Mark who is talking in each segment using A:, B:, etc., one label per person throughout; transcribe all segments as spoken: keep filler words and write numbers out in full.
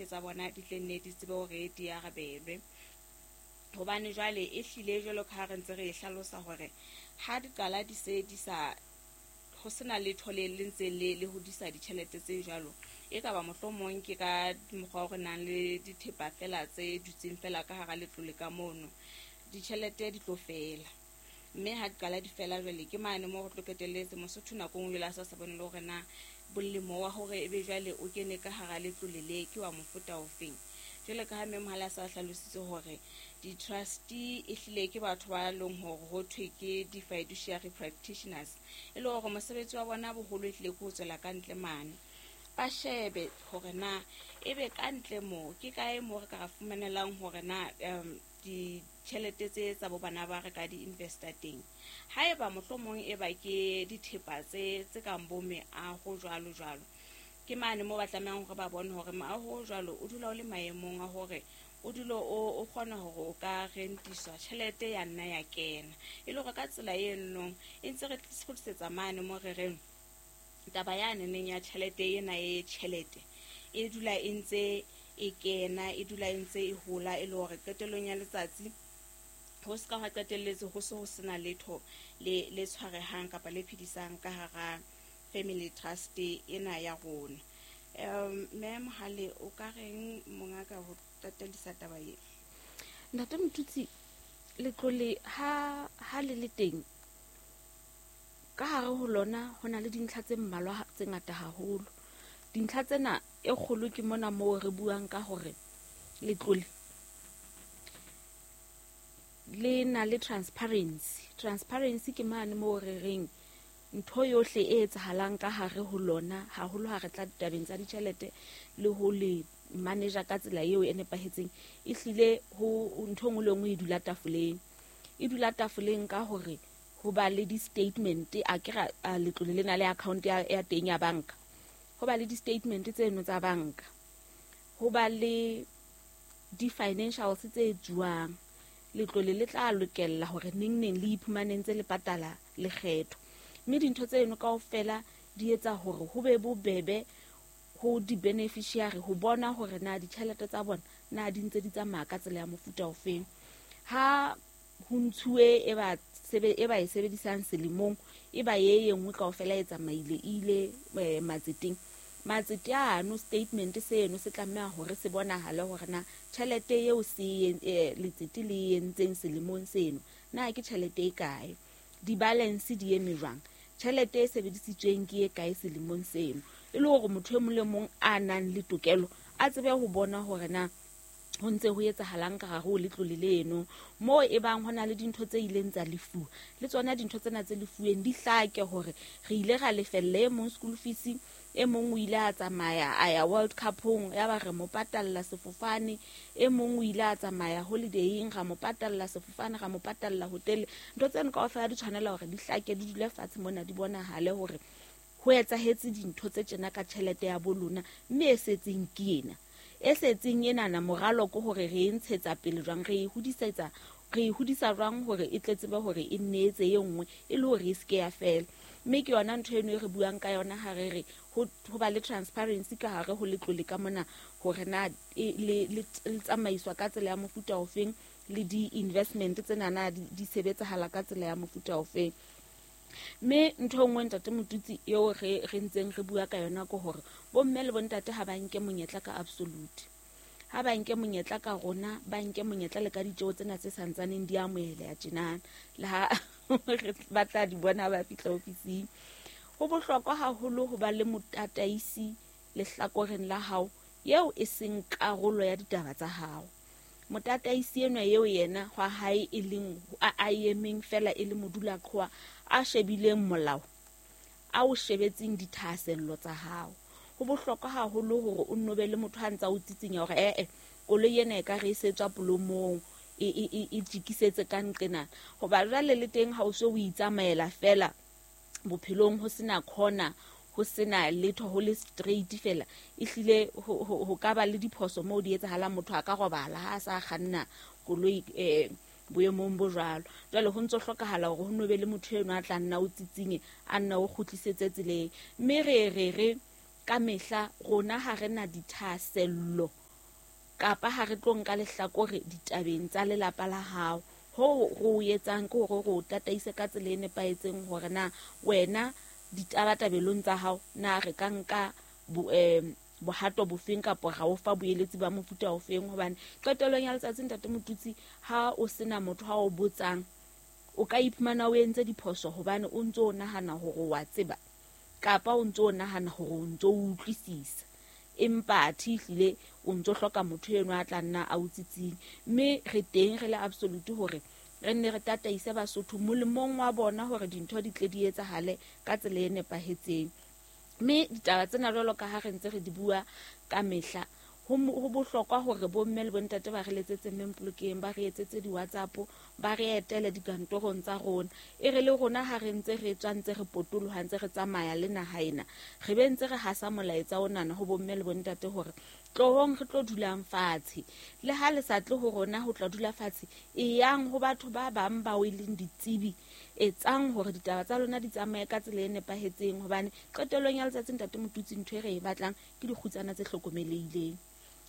A: tsohle tsa bona di tle nne di tsebe hore di arabelwe. Hobane jwale e hlile jwalo ka ha re ntse re e hlalosa hore ha di qala di se di sa ho sena letho le le ntse le le hodisa ditjhelete tse jwalo, e ka ba mohlomong ke ka mokgwa o re nang le dithepa fela tse dutseng fela ka hara letlole ka mono, ditjhelete di tlo fela. Mme ha di qala di fela jwale ke mane moo re tlo qetelletse Mosotho nako e nngwe jwale a sa sa bone le hore na bolemo wa hore ebe jwale o kene ka hara letlole le ke wa mofuta ofeng. Jwale ka ha mme Mohale a sa hlalositse hore di-trustee e hlile ke batho ba leng hore ho thwe ke di-fiduciary practitioners, e le hore mosebetsi wa bona boholo e hlile ke ho tswela ka ntle mane, ba shebe hore na ebe ka ntle moo ke kae moo re ka ra fumanelang hore na um ditjhelete tse tsa bo bana ba re ka di-investa teng. Haeba mohlomong e ba ke dithepa tse tse kang bo meaho jwalo jwalo, ke mane moo ba tlamehang hore ba bone hore moaho o jwalo o dula o le maemong a hore o dule o o kgona hore o ka rentiswa, tjhelete ya nna ya kena. E le hore ka tsela eno e ntse re kgutlisetsa mane mo re reng taba ya neneng ya tjhelete ena e tjhelete e dula e ntse e kena, e dula e ntse e hola, e le hore qetellong ya letsatsi ho se ka hwa qetelletse ho se ho sena letho le le tshwarehang kapa le phedisang ka hara family trust ena ya rona. Um mme Mohale, o ka reng mongaka ho tataisa taba e?
B: Ntate Motutsi, letlole ha ha le le teng ka hare ho lona ho na le dintlha tse mmalwa tse ngata haholo. Dintlha tsena e kgolo ke mona moo re buang ka hore letlole le na le transparency. Transparency ke mane moo re reng ntho yohle e etsahalang ka hare ho lona, haholo ha re tla ditabeng tsa ditjhelete le ho le manager ka tsela eo e nepahetseng, e hlile ho ntho e nngwe le nngwe e dula tafoleng. E dula tafoleng ka hore ho ba le di-statement, a ke ra letlole lena le account ya, ya teng ya banka, ho ba le di-statement tseno tsa banka, ho ba le di-financials tse etsuwang. Letlole le tla lokela hore neng neng le iphumane ntse le patala lekgetho, mme dintho tseno kaofela di etsa hore ho be bobebe ho di-beneficiary ho bona hore na ditjhelete tsa bona na di ntse di tsamaya ka tsela ya mofuta ofeng. Ha ho ntshuwe e ba sebe e ba e sebedisang selemong, e ba ye e nngwe kaofela e tsamaile e ile eh, matseteng. Matsete ano statement seno se tlameha hore se bonahale hore na tjhelete eo se eh, letsete le entseng selemong seno na ke tjhelete e kae, di-balance di eme jwang, tjhelete e sebedisitsweng ke e kae selemong seno, e le hore motho e mong le mong a nang le tokelo a tsebe ho bona hore na ho ntse ho etsahalang ka hare ho letlole leno. Moo e bang ho na le dintho tse ileng tsa lefuwa, le tsona dintho tsena tse lefuweng di hlake hore re ile ra lefella e mong school fees, e mong o ile a tsamaya a ya World Cup-ong ya ba re mo patalla sefofane, e mong o ile a tsamaya holiday-eng ra mo patalla sefofane, ra mo patalla hotel. Ntho tseno kaofela di tshwanela hore di hlake, di dule fatshe mona, di bonahale hore ho etsahetse dintho tse tjena ka tjhelete ya bo lona, mme e setseng ke ena. E setseng enana moralo ke hore re e ntshetsa pele jwang, re e hodisetsa, re e hodisa jwang hore e tle tsebe hore e nne etse e nngwe e le hore e se ke ya fela. Mme ke yona ntho eno e re buang ka yona ha re re ho ho ba le transparency ka hare ho letlole ka mona, hore na e le le tsamaiswa ka tsela ya mofuta ofeng, le di-investment tsena na di, di sebetsahala ka tsela ya mofuta ofeng. Mme ntho e nngwe ntate Motutsi eo re re ntseng re bua ka yona ke hore bomme le bontate ha ba nke monyetla ka absolute, ha ba nke monyetla ka rona, ba nke monyetla le ka ditjeo tsena tse santsaneng di amoheleha tjenana, le ha re ba tla di bona ha ba fihla ofising. Ho bohlokwa haholo ho ba le motataisi lehlakoreng la hao eo e seng karolo ya ditaba tsa hao. Motataisi enwa eo yena hwa hae e leng a, a emeng fela e le modulaqhowa a shebileng molao, a o shebetseng dithahasello tsa hao. Ho bohlokwa haholo hore o nno be le motho a ntsa o tsitsinya hore eh eh koloi ena e ka re e setswa polomong, e e e e jikisetse ka nqena. Hoba jwale le teng ha o so o itsamaela fela bophelong ho sena corner, ho sena letho, ho le straight fela, ehlile ho, ho, ho ka ba le diphoso moo di etsahalang, motho a ka robala ha a sa kganna koloi eh boemong bo jwalo. Jwale ho ntso hlokahala hore ho no be le motho eno a tla nna o tsitsinye, a nna o kgutlisetse tseleng. Mme re re re ka mehla rona ha re na dithahasello Kapa ha re tlo nka lehlakore ditabeng tsa lelapa la hao. Ho ro etsang ke hore re o tataise ka tsela e nepahetseng hore na wena ditabatabelong tsa hao na re ka nka bo eh bohato bofeng kapa ra o fa boeletsi ba mofuta ofeng. Hobane qetellong ya letsatsi ntate Motutsi, ha o sena motho ha o botsang, o ka iphumana o entse diphoso hobane o ntso o nahana hore wa tseba kapa o ntso o nahana hore o ntso o utlwisisa, empa athe ehlile o ntso hloka motho eno a tla nna a o tsitsing. Mme re teng re le absolute hore re nne re tataise Basotho molemong wa bona hore dintho di tle di etsahale ka tsela e nepahetseng. Mme ditaba tsena jwalo ka ha re ntse re di bua ka mehla, ho ho bohlokwa hore bomme le bontate ba re letsetse Mme Mpolokeng, ba re etsetse di-WhatsApp, ba re etele dikantorong tsa rona. E re le rona ha re ntse re tswa ntse re potoloha ntse re tsamaya le naha ena, re be ntse re hasa molaetsa onana ho bomme le bontate hore tlohong re tlo dulang fatshe. Le ha le sa tle ho rona ho tla dula fatshe, e yang ho batho ba bang bao e leng ditsebi, etsang hore ditaba tsa lona di tsamaye ka tsela e nepahetseng. Hobane qetellong ya letsatsi ntate Motutsi, ntho e re e batlang ke dikgutsana tse hlokomelehileng.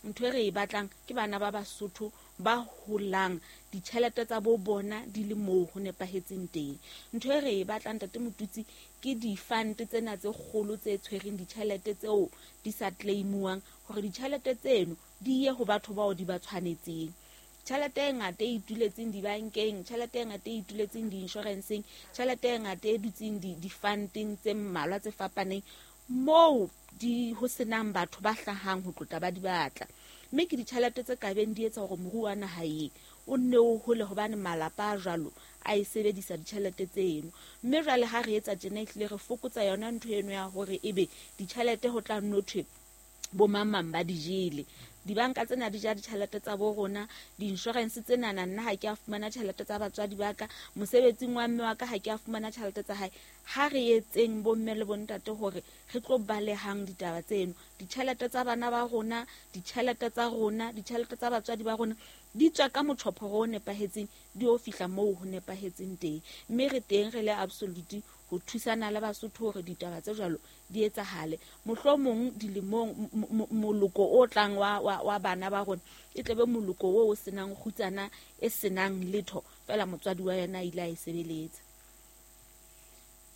B: Ntho e re e batlang ke bana ba Basotho ba holang ditjhelete tsa bo bona di le moo ho nepahetseng teng. Ntho e re e batlang ntate Motutsi ke di-fund tsena tse kgolo tse tshwereng ditjhelete tseo di sa claimuwang, hore ditjhelete tseno di ye ho batho bao di ba tshwanetseng. Tjhelete e ngata e ituletseng dibankeng, tjhelete e ngata e ituletseng di-insurance-eng, tjhelete e ngata e dutseng di-funding tse mmalwa tse fapaneng moo di ho senang batho ba hlahang ho tlotla ba di batla. Mme ke ditjhelete tse kabeng di etsa hore moruo wa naha e o nne o hole, hobane malapa a jwalo a e sebedisa ditjhelete tseno. Mme jwale ha re etsa tjena ehlile re fokotsa yona ntho eno ya hore ebe ditjhelete ho tla nno thwe bo mang ba di jele. Dibanka tsena di ja ditjhelete tsa bo rona, di-insurance tsena nna ha ke a fumana tjhelete tsa batswadi ba ka, mosebetsing wa mme wa ka ha ke a fumana tjhelete tsa hae. Ha re etseng bomme le bontate hore re tlo balehang ditaba tseno. Ditjhelete tsa bana ba rona, ditjhelete tsa rona, ditjhelete tsa batswadi ba rona di tswa ka motjhophoro o nepahetseng, di o fihla moo ho nepahetseng teng. Mme re teng re le absolute ho thusana le Basotho hore ditaba tse jwalo di etsahale. Mohlomong dilemong moloko o tlang wa wa, wa bana ba rona e tlebe moloko o o senang kgutsana e senang letho fela motswadi wa yena a ile a e sebeletsa.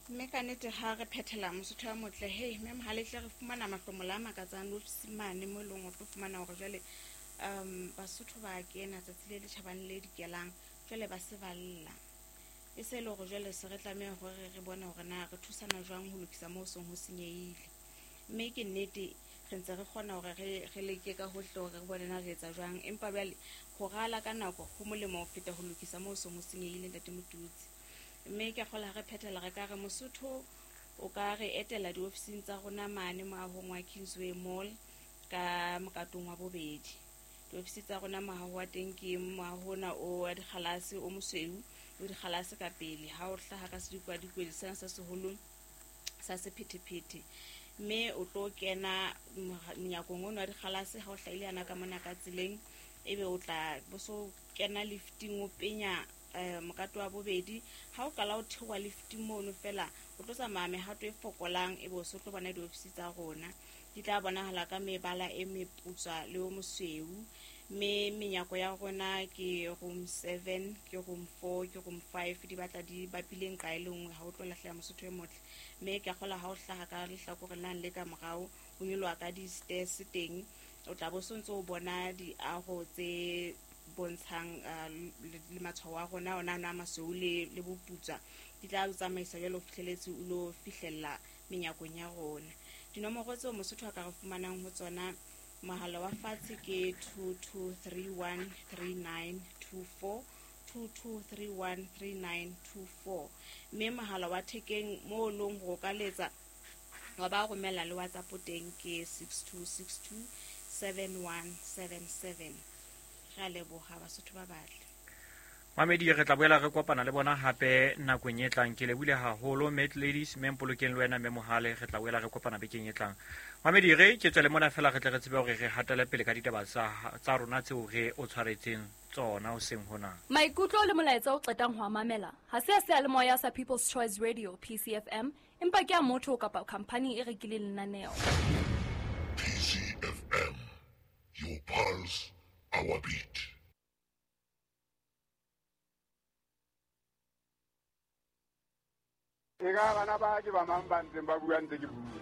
A: Mme ka nnete ha re phethela Mosotho wa motle, hei mme Mohale hle re fumana mahlomola a makatsang le ofisimane mo e leng o tlo fumana hore jwale um Basotho ba kena tsatsi le le tjhabang le dikelang, jwale ba se ba lla. E se le hore jwale se re tlameha hore re bone hore na re thusana jwang ho lokisa moo seng ho senyehile. Mme ke nnete re ntse re kgona hore re re leke ka hohle hore re bone na re etsa jwang, empa jwale ho rala ka nako ho molemo ho feta ho lokisa moo seng ho senyehile ntate Motutsi. Mme ke kgola re phethela re ka re Mosotho o ka re etela diofising tsa rona mane moahong wa Kingsway Mall ka mokatong wa bobedi. Diofisi tsa rona moaho wa teng ke moaho ona o wa dikgalase o mosweu o dikgalase ka pele ha o hlaha ka sedikwadikwe sena sa seholo sa sephethephethe. Mme o tlo kena monyakong ono wa dikgalase ha o hlahile yana ka mona ka tseleng, ebe o tla bo so kena lifting o penya eh mokato wa bobedi. Ha o qala o theoha lifting mono fela o tlo tsamaya mehato e fokolang, ebe o so tlo bona diofisi tsa rona. Di tla bonahala ka mebala e meputswa le o mosweu. Mme menyako ya rona ke room seven, ke room four, ke room five, di batla di bapile nqa e le nngwe ha o tlo lahleha Mosotho e motle. Mme ke a kgola ha o hlaha ka lehlakoreng lane le ka morao, o nyoloha ka di-stairs teng, o tla bo so ntso o bona diaho tse bontshang le matshwao a rona ona a masweu le le boputswa. Di tla o tsamaisa jwalo ho fihleletse o lo fihlella menyakong ya rona. Dinomoro tseo Mosotho a ka re fumanang ho tsona, mohala wa fatshe ke two two three one three nine two four, two two three one three nine two four. Mme mohala wa thekeng mo leng ho ka letsa wa ba romela le WhatsApp teng ke six two six two seven one seven seven. Re a leboha Basotho ba batle.
C: Mamedi, re tla boela re kopana le bona hape nakong e tlang. Ke lebohile haholo Mat Ladies, mme Mpolokeng le wena mme Mohale, re tla boela re kopana bekeng e tlang. Mamedi, re ke tswele mona fela re tle re tsebe hore re hatele pele ka ditaba tsa tsa rona tseo re o tshwaretseng tsona hoseng hona.
D: Maikutlo le molaetsa o qetang ho a mamela ha se a seyalemoya sa People's Choice Radio P C F M, empa ke a motho kapa khampani e rekileng lenaneo.
E: P C F M, your pulse, Our beat.
F: E ka bana ba ke ba mang ba ntseng ba bua ntse ke bua.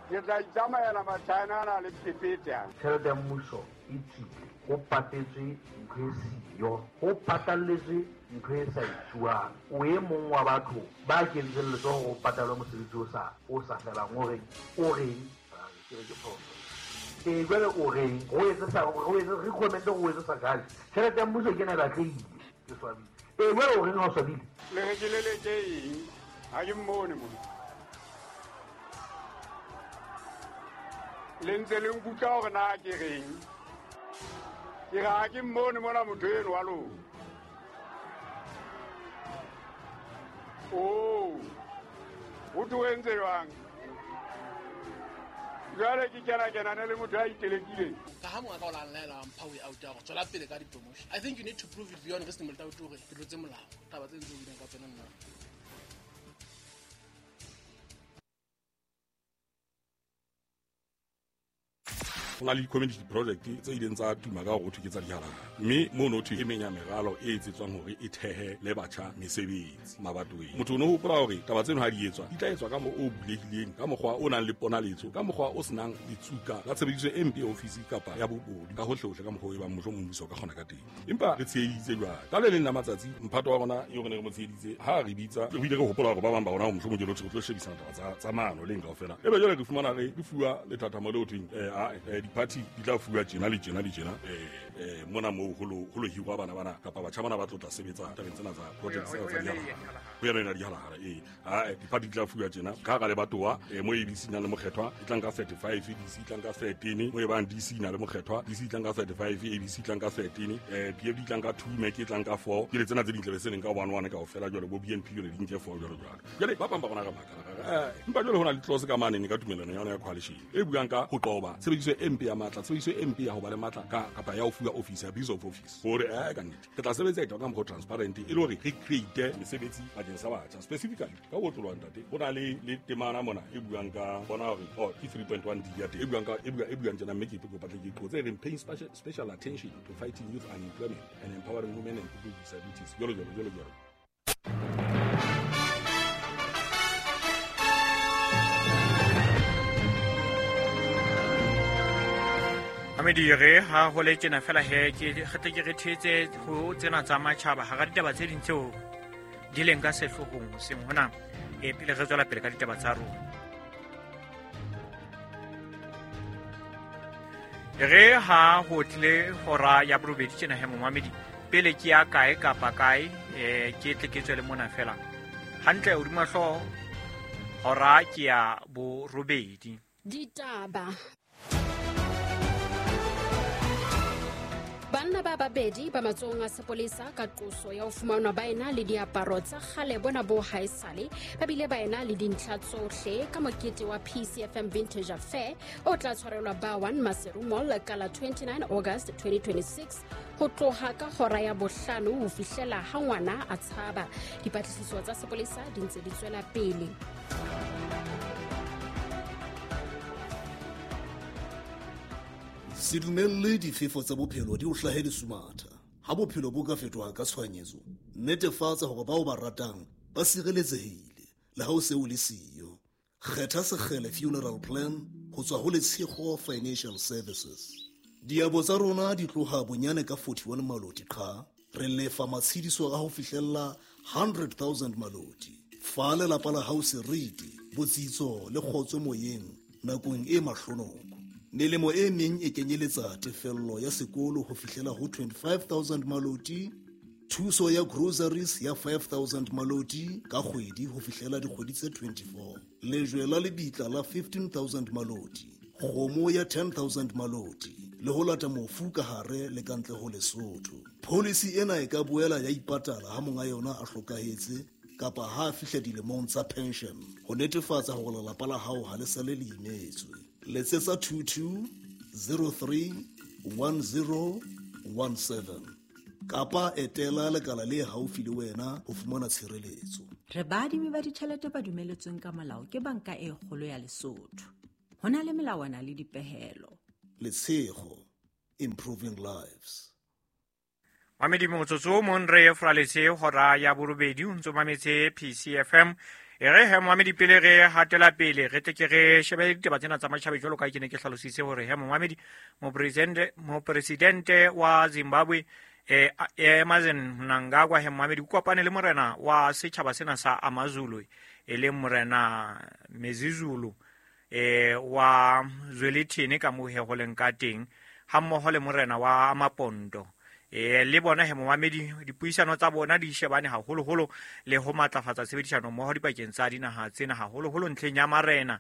F: Ke tla itsamaela Machina a na le phephethe.
G: Tjhelete ya mmuso e tswile, ho patetswe ntho e siyo, ho patalletswe ntho e sa etsuwang. O e mong wa batho ba kentseng letsoho ho patalwe mosebetsi o sa o sa felang, o reng o reng ke re ke phoso. E jwale o reng ho etse sa ho etse recommend ho etse sa kale. Tjhelete ya mmuso ke ena e batlehile, ke swabile. E jwale o reng ha o swabile?
F: Le re ke leleke eng? Ha ke mmone mona. Le ntse le nkutlwa hore na ke reng. Ke re ha ke mmone mona motho eno wa lona. Oh, ho thwe o entse jwang? Jwale ke kena kenane le motho a itelekileng.
H: Ka ha mongaka o la nlaela wa mpha way out ya hore tswela pele ka di-promotion. I think you need to prove it beyond reasonable doubt hore ke tlotse molao. Taba tse ntse o buileng ka tsona nna.
E: Ho na le di-community project tse ileng tsa tuma ka hore ho thwe ke tsa dihalala, mme mono ho thwe e meng ya meralo e etsetswang hore e thehe le batjha mesebetsi mabatoweng. Motho o no hopola hore taba tseno ha di etswa di tla etswa ka mokgwa o bulehileng, ka mokgwa o nang le ponaletso, ka mokgwa o senang letsuka la tshebediso e mpe ya ofisi kapa ya bobodu ka hohlehohle, ka mokgwa o e bang mohlomong mmuso o ka kgona ka teng. Empa re tsheheditse jwale ka le leng la matsatsi mphato wa rona eo re ne re mo tsheheditse ha re bitsa, re bile re hopola hore ba bang ba rona mohlomong ke lo tlo shebisana taba tsa tsa mano leng kaofela. Ebe jwale re fumana re re fuwa lethathamo leo thweng eh a party di tla fuwa tjena le tjena le tjena eh eh mona moo ho lo ho lo hirwa bana bana kapa batjha bana ba tlo tla sebetsa tabeng tsena tsa project tsena tsa dihalala. Ho yona ena dihalala eh ha di-party di tla fuwa tjena ka hara lebatowa eh mo A B C na le mokgethwa e tlang ka thirty-five, D C e tlang ka thirteen, mo e bang D C na le mokgethwa, D C e tlang ka thirty-five, A B C e tlang ka thirteen, eh P F D e tlang ka two, M E C e tlang ka four, ke le tsena tse ding tlabe se leng ka one one kaofela jwale bo B N P jwale di nke four jwalo jwalo. Jwale ba bang ba rona re makala eh empa jwale ho na le clause ka mane ka tumelano ya yona ya coalition e buang ka ho qoba tshebediso e mpe ya matla, tshebediso e mpe ya ho ba le matla ka kapa ya ho fuwa office, abuse of office. Hore eh ka nnete re tla sebetsa ka mokgwa transparent e le hore re create mesebetsi bakeng sa batjha specifically ka ho otloloha ntate. Ho na le le temana mona e buang ka bona hore oh ke three point one D ya teng e buang ka e buang e buang tjena, mme ke kopa tle ke qotse e reng paying special, special attention to fighting youth unemployment and empowering women and people with disabilities, jwalo jwalo jwalo jwalo.
C: Amedire ha ho le tjena fela he ke re tle ke re thetse ho tsena tsa matjhaba hara ditaba tse ding tseo di leng ka sehloohong hoseng hona e pele re tswela pele ka ditaba tsa rona. Re ha ho tlile hora ya borobedi tjena he momamedi pele ke ya kae kapa kae eh ke tle ke tswele mona fela hantle hodima hlooho hora ke ya borobedi.
I: Ditaba. Banna ba babedi ba matsohong a sepolesa ka qoso ya ho fumanwa ba ena le diaparo tsa kgale bona bo haesale, ba bile ba ena le dintlha tsohle ka mokete wa P C F M Vintage Affair o tla tshwarelwa ba one Maseru Mall ka la twenty-nine August twenty twenty-six ho tloha ka hora ya bohlano ho fihlela ha ngwana a tshaba. Dipatlisiso tsa sepolesa di ntse di tswela pele.
J: Se dumelle difefo tsa bophelo di o hlahe lesumatha. Ha bophelo bo ka fetoha ka tshohanyetso, netefatsa hore bao ba ratang ba sireletsehile le ha o se o le siyo. Kgetha Sekgele Funeral Plan ho tswa ho Letshego Financial Services. Diabo tsa rona di tloha bonyane ka forty-one maloti qha, re lefa matshediso a ho fihlella one hundred thousand maloti. Fa lelapa la hao seriti, botsitso le kgotso moyeng nakong e mahlonoko. Melemo e meng e kenyeletsa tefello ya sekolo ho fihlela ho twenty-five thousand maloti, thuso ya groceries ya five thousand maloti ka kgwedi ho fihlela dikgwedi tse twenty-four, lejwe la lebitla la fifteen thousand maloti, kgomo ya ten thousand maloti, le ho lata mofu ka hare le ka ntle ho Lesotho. Policy ena e ka boela ya ipatala ha monga yona a hlokahetse kapa ha a fihla dilemong tsa pension ho netefatsa hore lelapa la hao ha le sale le imetswe. Letsetsa two two zero three one zero one seven kapa etela lekala le haufi le wena ho fumana tshireletso.
K: Re baadimi ba ditjhelete ba dumeletsweng ka molao ke banka e kgolo ya Lesotho. Ho na le melawana le dipehelo.
J: Letshego, improving lives.
C: Mamedi motsotso o mong re fraletse hora ya borobedi o ntso mametse P C F M. E re he momamedi pele re hatela pele re tle ke re shebe ditaba tsena tsa matjhaba jwalo ka ke ne ke hlalositse hore he momamedi mopresidente mopresidente wa Zimbabwe eh Emmerson Mnangagwa he momamedi o kopane le morena wa setjhaba sena sa AmaZulu e leng morena Mezizulu eh wa Zwelithini ka moo he ho leng ka teng ha mmoho le morena wa Amapondo. E le bona he momamedi dipuisano tsa bona di shebane haholoholo le ho matlafatsa tshebedisano mmoho dipakeng tsa dinaha tsena haholoholo ntlheng ya marena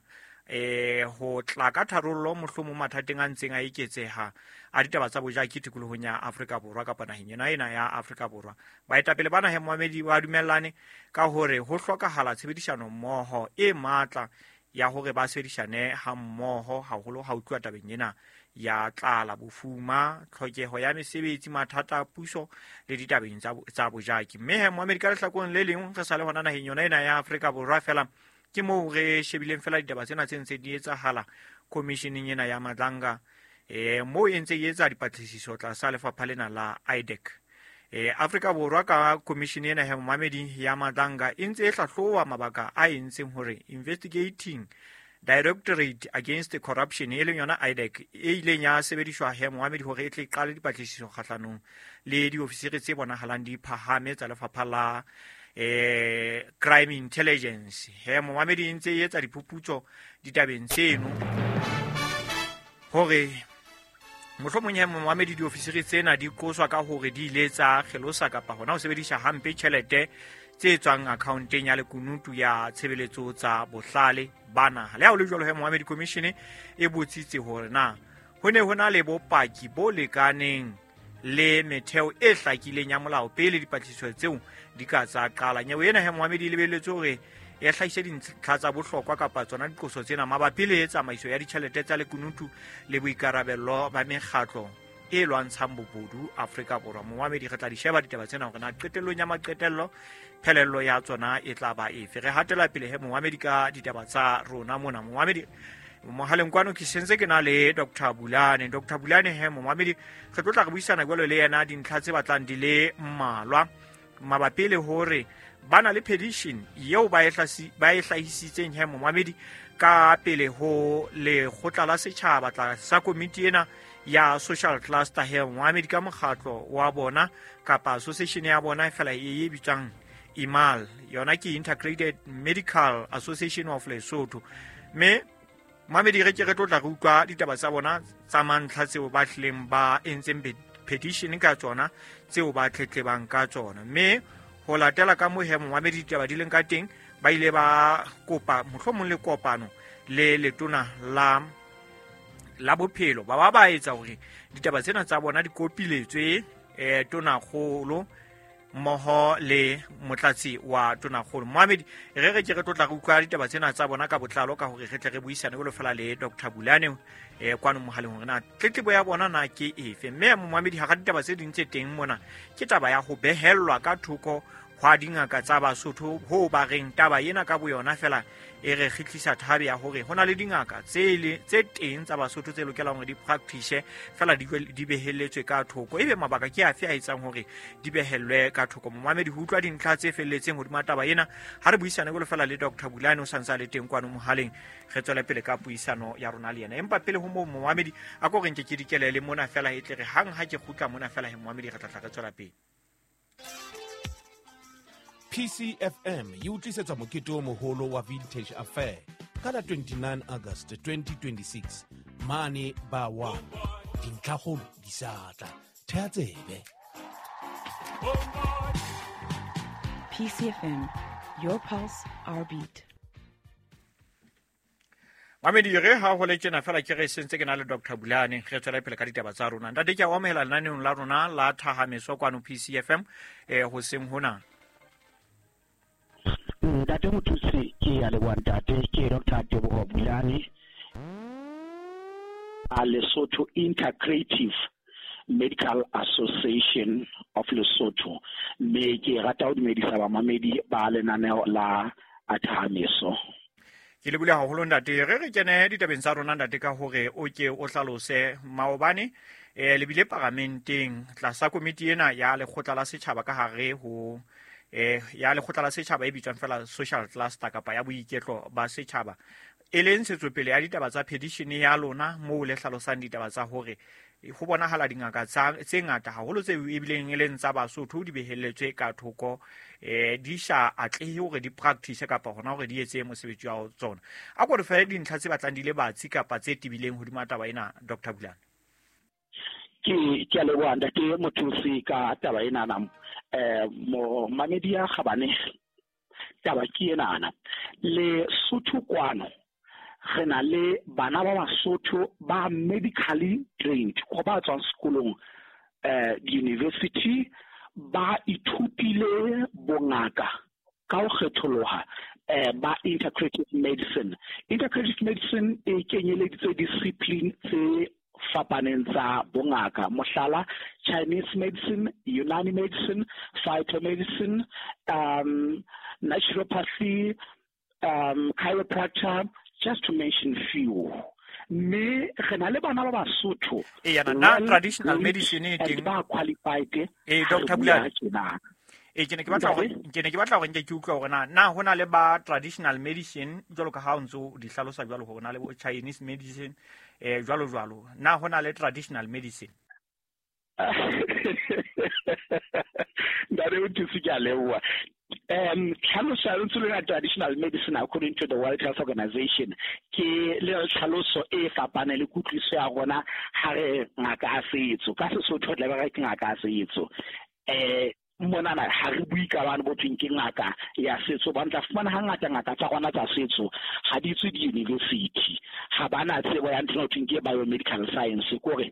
C: eh ho tla ka tharollo mohlomong mathateng a ntseng a eketseha a ditaba tsa bojaki tikolohong ya Afrika Borwa kapa naheng yona ena ya Afrika Borwa. Baetapele bana he momamedi ba dumellane ka hore ho hlokahala tshebedisano mmoho e matla ya hore ba sebedisane ha mmoho haholo ha utlwa tabeng ena ya tlala, bofuma, tlhokeho ya mesebetsi, mathata a puso le ditabeng tsa tsa bojaki. Mme he momamedi ka lehlakoreng le leng re sa le hona naheng yona ena ya Afrika Borwa fela ke moo re shebileng fela ditaba tsena tse ntse di etsahala commissioning ena ya Madlanga eh moo e ntse e etsa dipatlisiso tlasa lefapha lena la I D E C. Eh Afrika Borwa ka commission ena ya momamedi ya Madlanga e ntse e hlahloba mabaka a entseng hore investigating Directorate Against Corruption e leng yona I D E C e ileng ya sebediswa he momamedi hore e tle qale dipatlisiso kgahlanong le diofisiri tse bonahalang di phahame tsa lefapha la eh crime intelligence. He momamedi e ntse e etsa diphuputso ditabeng tseno hore mohlomong he momamedi diofisiri tsena di qoswa ka hore di ile tsa kgelosa kapa hona ho sebedisa hampe tjhelete tse tswang accounteng ya lekunutu ya tshebeletso tsa bohlale ba naha. Le ha ho le jwalo he momamedi commission e botsitse hore na ho ne ho na le bopaki bo lekaneng le metheo e hlakileng ya molao pele dipatlisiso tseo di ka tsa qala. Nyewe ena he momamedi e lebelletse hore e hlahise dintlha tsa bohlokwa kapa tsona diqoso tsena mabapi le tsamaiso ya ditjhelete tsa lekunutu le boikarabello ba mekgatlo e lwantshang bobodu Afrika Borwa. Momamedi re tla di sheba ditaba tsena hore na qetellong ya maqetello phelello ya tsona e tla ba efe. Re hatela pele he momamedi ka ditaba tsa rona mona. Momamedi mohaleng kwano ke sentse ke na le Doctor Bulane. Doctor Bulane he momamedi re tlo tla re buisana jwalo le yena dintlha tse batlang di le mmalwa mabapi le hore ba na le petition eo ba e ba e hlahisitseng he momamedi ka pele ho lekgotla la setjhaba tlasa komiti ena ya social cluster he momamedi ka mokgatlo wa bona kapa association ya bona fela e bitswang I M A L, yona ke Integrated Medical Association of Lesotho. Mme momamedi re ke re tlo tla re utlwa ditaba tsa bona tsa mantlha tseo ba hlileng ba entseng petition ka tsona tseo ba tletlebang ka tsona. Mme ho latela ka moo he momamedi ditaba di leng ka teng ba ile ba kopa mohlomong le kopano le letona la la bophelo ba ba ba etsa hore ditaba tsena tsa bona di kopiletswe eh tonakgolo mmoho le motlatsi wa tonakgolo. Momamedi re re ke re tlo tla re utlwa ditaba tsena tsa bona ka botlalo ka hore re tle re buisane jwalo fela le Doctor Bulane eh kwano mohaleng hore na tletlebo ya bona na ke efe. Mme momamedi hara ditaba tse ding tse teng mona ke taba ya ho behellwa ka thoko hwa dingaka tsa Basotho ho ba reng taba ena ka boyona fela e re kgitlisa thabe ya hore ho na le dingaka tse le tse teng tsa Basotho tse lokelang hore di practice fela di di behelletswe ka thoko. Ebe mabaka ke afe a etsang hore di behellwe ka thoko? Momamedi ho utlwa dintlha tse felletseng hodima taba ena ha re buisane jwalo fela le Doctor Bulane o santse a le teng kwano mohaleng re tswele pele ka puisano ya rona le yena. Empa pele ho moo momamedi a ko re nke ke dikelele mona fela e tle re hang ha ke kgutla mona fela he momamedi re tla tla re tswela pele.
L: P C F M e utlisetsa mokete o moholo wa Vintage Affair ka la twenty-nine August twenty twenty-six mane ba wa dintlhakgolo di sa tla thea tsebe.
M: P C F M, your pulse, our beat.
C: Mamedi re ha ho le tjena fela ke re sentse ke na le Doctor Bulane re tswela pele ka ditaba tsa rona. Ntate ke a o amohela lenaneong la rona la Thahameso kwano P C F M eh hoseng hona.
N: Ntate Mothusi ke ya leboha ntate, ke Doctor Teboho Bulane a Lesotho Integrative Medical Association of Lesotho, mme ke rata ho dumedisa bamamedi ba lenaneo la Thahameso.
C: Ke le bule haholo ntate. Re re kene ditabeng tsa rona ntate ka hore o ke o hlalose maobane eh le bile paramenteng tlasa komiti ena ya lekgotla la setjhaba ka hare ho eh ya lekgotla la setjhaba e bitswang fela social cluster kapa ya boiketlo ba setjhaba, e leng ntshetsopele ya ditaba tsa petition ya lona moo le hlalosang ditaba tsa hore ho bonahala dingaka tsa tse ngata haholo tse ebileng e leng tsa Basotho di behelletswe ka thoko, eh di sa atlehe hore di practice kapa hona hore di etse mosebetsi wa tsona. A ko re fe dintlha tse batlang di le batsi kapa tse tebileng hodima taba ena, Doctor Bulane.
N: Ke ke a leboha ntate Mothusi ka taba enana. Eh mo mamedi ya kgabane, taba ke enana. Lesotho kwano re na le bana ba Basotho ba medically trained, go ba tswang sekolong eh university, ba ithutile bongaka ka ho kgetholoha eh ba integrative medicine. Integrative medicine e kenyeleditse discipline tse fapaneng tsa bongaka, mohlala Chinese medicine, Unani medicine, phytomedicine, um naturopathy, um chiropractor, just to mention few. Mme re na le bana ba Basotho
C: e yana na traditional medicine e teng
N: ba qualified.
C: Eh Doctor Bulane, e ke ne ke batla hore ke ne ke batla hore nke ke utlwa hore na na hona le ba traditional medicine jwalo ka ha o ntso di hlalosa jwalo hore na le bo Chinese medicine eh jwalo jwalo, na hona le traditional medicine?
N: Ntate Mothusi, ke a leboha. Um tlhaloso ya lentswe lena traditional medicine according to the World Health Organization ke le tlhaloso e fapaneng le kutlwiso ya rona ha re ngaka ya setso. Ka Sesotho re tla be re ke ngaka ya setso. Eh monana ha re bue ka bana bo thweng ke ngaka ya setso, ba ntla fumana hangata ngaka tsa rona tsa setso ha di tswe di-university, ha bana tsebo ya ntho e thweng ke biomedical science, kore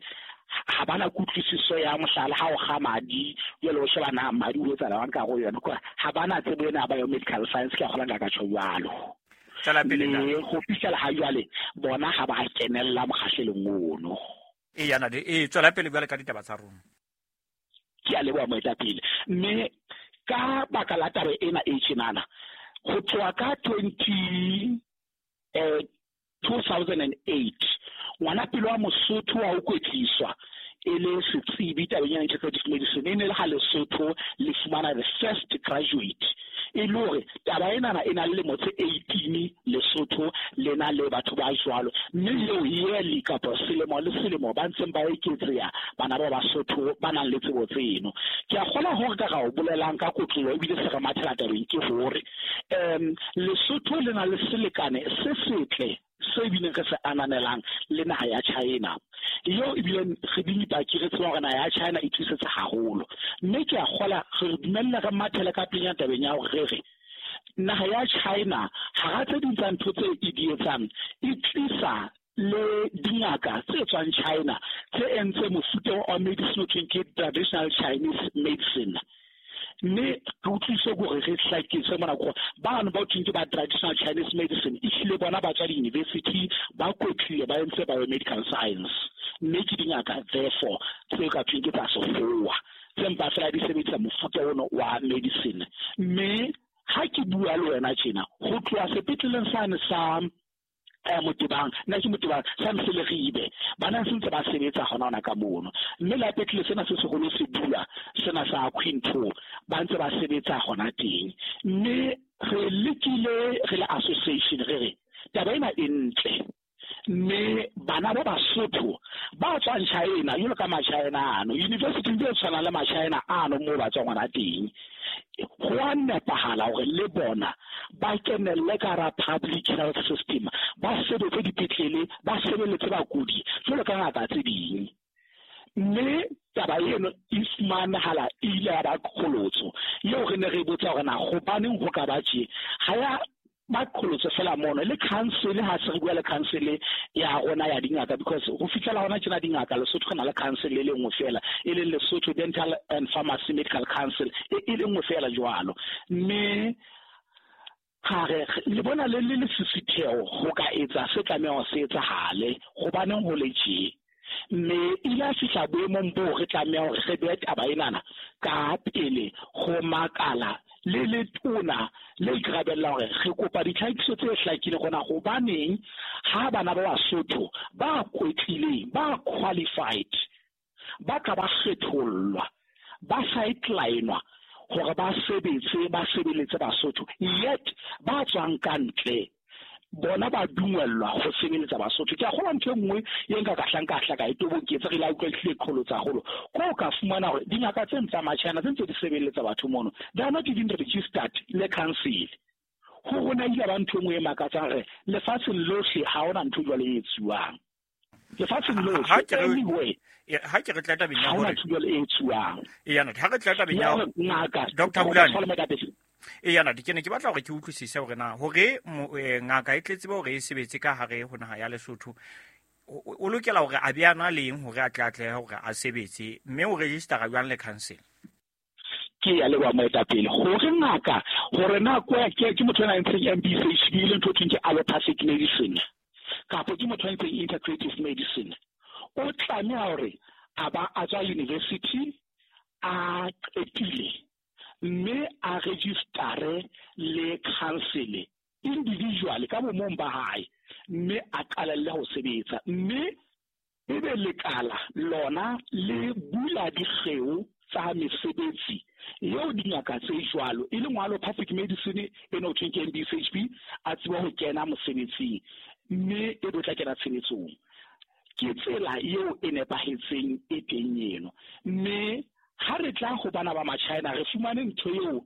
N: ha bana kutlwisiso ya mohlala ha o kga madi jwale o sheba na madi o etsahalang ka go yona, kore ha bana tsebo ena ya biomedical science. Ke a kgola nka tjho jwalo.
C: Tswela pele
N: ntate. Go fihlela ha jwale bona ha ba kenella mokgahlelong ono.
C: E yana de e tswela pele jwale ka ditaba tsa rona.
N: Ke a leboha moetapele. Mme ka baka la taba ena e tjenana, ho tloha ka twenty eh two thousand and eight ngwana pele wa Mosotho wa ho kwetliswa e le setsebi tabeng ya integrative medicine, e ne le ha Lesotho le fumana the first graduate. E le hore taba enana e na le lemo tse eighteen Lesotho le na le batho ba jwalo, mme leo yearly kapa selemo le selemo ba ntseng ba eketseha bana ba Basotho ba nang le tsebo tseno. Ke a kgona hore ka ga o bolelang ka kotlolo ebile se re mathela tabeng ke hore um Lesotho le na le selekane se setle se ebileng re se ananelang le naha ya China, eo ebileng re dipaki re tseba hore naha ya China e thusetse haholo. Mme ke a kgola re dumella re mathele ka pele tabeng ya hore re re naha ya China hara tse ding tsa ntho tse e di etsang e tlisa le dingaka tse tswang China tse entse mofuta wa medicine o thweng ke traditional Chinese medicine. Mme re utlwise hore re hlakise mona gore bano ba thweng ke ba traditional Chinese medicine ehlile bona ba tswa di-university ba kwetlile ba entse biomedical science, mme ke dingaka therefore tse ka thweng ke tsa sekgowa tse mpa fela di sebedisa mofuta ono wa medicine. Mme ha ke bua le wena tjena ho tloha sepetleleng sane sa eh Motebang, nna ke Motebang sa Mseleribe, bana se ntse ba sebetsa hona hona ka mono, mme la petlele sena se seholo se bula sena sa Quinto ba ntse ba sebetsa hona teng. Mme re lekile re le association re re taba ena e ntle, mme bana ba Basotho ba tswang China jwalo ka ma-China ano university tse tshwanang le ma-China ano moo ba tswang hona teng, ho a nepahala hore le bona ba kenelle ka hara public health system, ba sebetse dipetlele, ba sebeletse bakudi jwalo ka ngaka tse ding. Mme taba eno e fumanehala e ile ya ba qholotso eo re ne re botsa hore na hobaneng ho ka ba tje. Ha ya ba qholotso fela mono le council, ha se re bua le council ya rona ya dingaka, because ho fihlela hona tjena dingaka Lesotho re na le council e le nngwe fela, e leng Lesotho Dental and Pharmacy Medical Council, e le nngwe fela jwalo. Mme ha re le bona le le lesisitheo ho ka etsa se tlamehang ho se etsahale, hobaneng ho le tje. Mme ile a fihla boemong boo re tlameha hore re behe taba enana ka pele ho makala Le letona le ikarabella hore re kopa ditlhakiso tse hlakileng gona hobaneng ha bana ba Basotho ba kwetlileng, ba qualified, ba ka ba kgethollwa, ba sidelinwa hore ba sebetse, ba sebeletse Basotho, yet ba tswang ka ntle bona ba dumellwa go sebeletsa Basotho. Ke a kgolwa ntho e nngwe e nka ka hlang ka hla ka e toboketsa re la utlwa ehlile qholotsa haholo ko ka fumana hore dingaka tse tsa Machina tse ntse di sebeletsa batho mono, they are not even registered le council. Ho rona ile ba ntho e nngwe e makatsang re lefatsheng lohle ha hona ntho jwalo e etsuwang lefatsheng lohle anyway.
C: Ha ke re tla tabeng ya
N: hore ntho jwalo e etsuwang
C: e yana ha re tla tabeng ya
N: ngaka
C: Doctor Bulane e yana ke ne ke batla hore ke utlwisise hore na hore ngaka e tletse ba hore e sebetse ka hare ho naha ya Lesotho o lokela hore a be ana leng hore a tle atlehe hore a sebetse, mme o registera jwang le council?
N: Ke ya leboha moetapele hore ngaka hore na kwa ke ke motho a entseng M B C H B le ntho thweng ke allopathic medicine kapa ke motho a entseng integrative medicine, o tlameha hore a ba a tswa university a qetile mme a registare le council individually ka bomong ba hae, mme a qalelle ho sebetsa, mme ebe lekala lona le bula dikgeo tsa mesebetsi eo dingaka tse jwalo e leng allopathic medicine e no thweng ke M B C H B a tseba ho kena mosebetsing mme e bo tla kena tshebetsong. Ke tsela eo e nepahetseng e teng eno. Mme ha re tla ho bana ba Machina re fumane ntho eo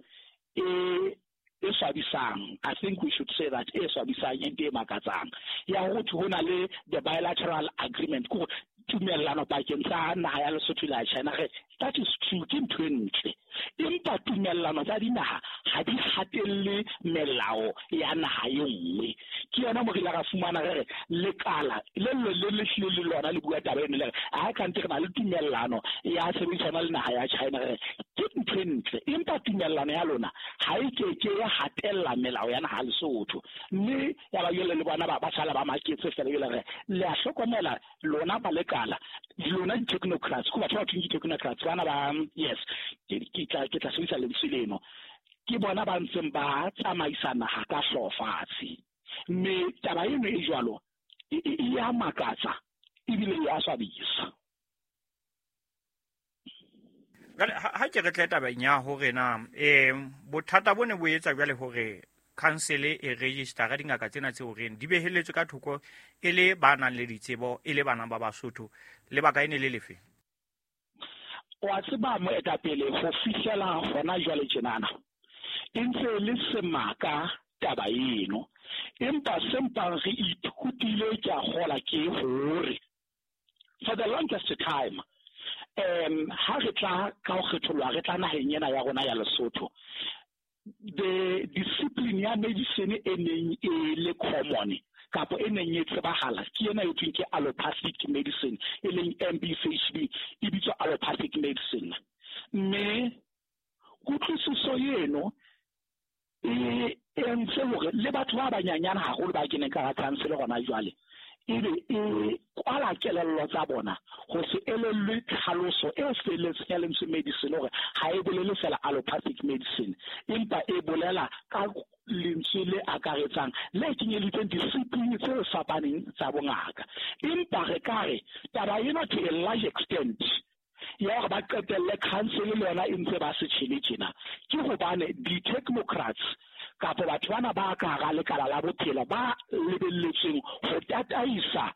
N: e e swabisang. I think we should say that e swabisang e nte e makatsang ya ho thwe ho na le the bilateral agreement ko tumellano pakeng tsa naha ya Lesotho le ya China. Re that is true, ke ntho e ntle, empa tumellano tsa dinaha ha di hatelle melao ya naha e nngwe. Ke yona mo re ile ra fumana re re lekala le le le le hlile le lona le bua taba eno le re ha kante re na le tumellano ya sebedisana le naha ya China, re ke ntho e ntle, empa tumellano ya lona ha e ke ke ya hatella melao ya naha Lesotho. Mme ya ba jwale le bona ba ba sala ba maketse fela jwale re le a hlokomela lona ba lekala lona di-technocrats ko batho ba thweng di-technocrats bana ba yes ke tla ke tla sebedisa lentswe leno, ke bona ba ntseng ba tsamaisa naha ka hlooho fatshe. Mme taba eno e jwalo e ya makatsa ebile e a swabisa.
C: Jwale ha ke re tle tabeng ya hore na eh bothata bo ne bo etsa jwale hore council e registera dingaka tsena tse horeng di beheletswe ka thoko e le ba nang le ditsebo e le bana ba Basotho, lebaka e ne le lefe?
N: Wa tseba moetapele ho fihlela hona jwale tjenana e ntse le semaka taba eno, empa sempang re ithutile ke a kgola ke hore for the longest time um ha re tla ka ho kgethollwa re tla naheng ena ya rona ya Lesotho, the discipline ya medicine e neng e le common kapa e neng e tsebahala ke ena e thweng ke allopathic medicine e leng M B C H B e bitswa allopathic medicine. Mme kutlwisiso eno e entse hore le batho ba banyanyana haholo ba keneng ka council gona jwale ebe e kwala kelello tsa bona ho se elellwe tlhaloso e felletseng ya lentswe medicine hore ha e bolele fela allopathic medicine, empa e bolela ka lentswe le akaretsang le kenyelitseng discipline tse fapaneng tsa bongaka. Empa re ka re taba ena to a large extent ya hore ba qetelle council le yona e ntse ba se tjhele tjena ke hobane di-technocrats kapa batho bana ba ka hara lekala la bophelo ba lebelletsweng ho tataisa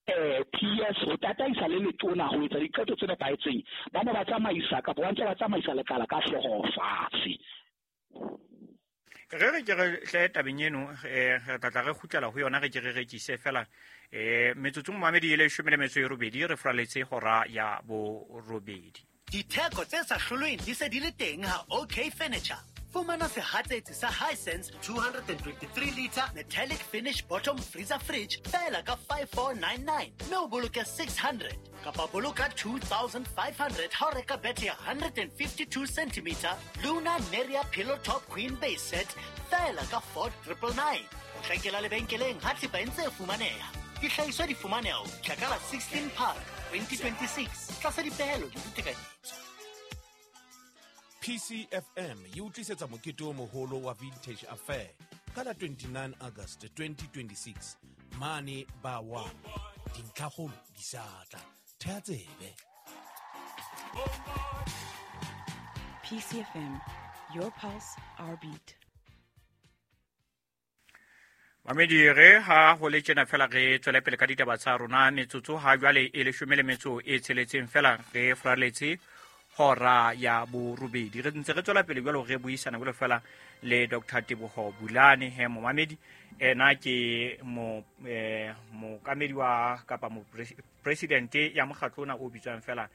N: eh P S ho tataisa le letona ho etsa diqeto tse nepahetseng ba ne ba tsamaisa kapa ba ntse ba tsamaisa lekala ka hlooho fatshe.
C: Re re ke re hle tabeng eno eh re tla tla re kgutlela ho yona re ke re rekise fela eh metsotso momamedi e leshome le metso e robedi re fraletse hora ya borobedi.
O: Ditheko tse sa hlolweng di se di le teng ha OK Furniture. Fumana sehatsetsi sa Hisense two twenty-three liter metallic finish bottom freezer fridge fela ka five four nine nine mme o boloke six hundred kapa boloka two thousand five hundred ha o reka bethe ya one hundred fifty-two centimeter Luna Neria pillow top queen base set fela ka four triple nine. O hlakela lebenkeleng ha thepa e ntse e fumaneha. Dihlahiswa di fumaneha ho fihla ka la sixteen Park twenty twenty-six tlasa dipehelo le ditekanyetso.
L: P C F M e o tlisetsa mokete o moholo wa Vintage Affair ka la twenty-nine August twenty twenty-six mane ba wa dintlhakgolo di sa tla. Thea tsebe.
M: P C F M, your pulse, our beat.
C: Mamedi re ha ho le tjena fela re tswele pele ka ditaba tsa rona metsotso ha jwale e leshome le metso e tsheletseng fela re fraletse hora ya borobedi. Re ntse re tswela pele jwalo re buisana jwalo fela le Doctor Teboho Bulane he momamedi ena ke mo eh mookamedi wa kapa mo president ya mokgatlo ona o bitswang fela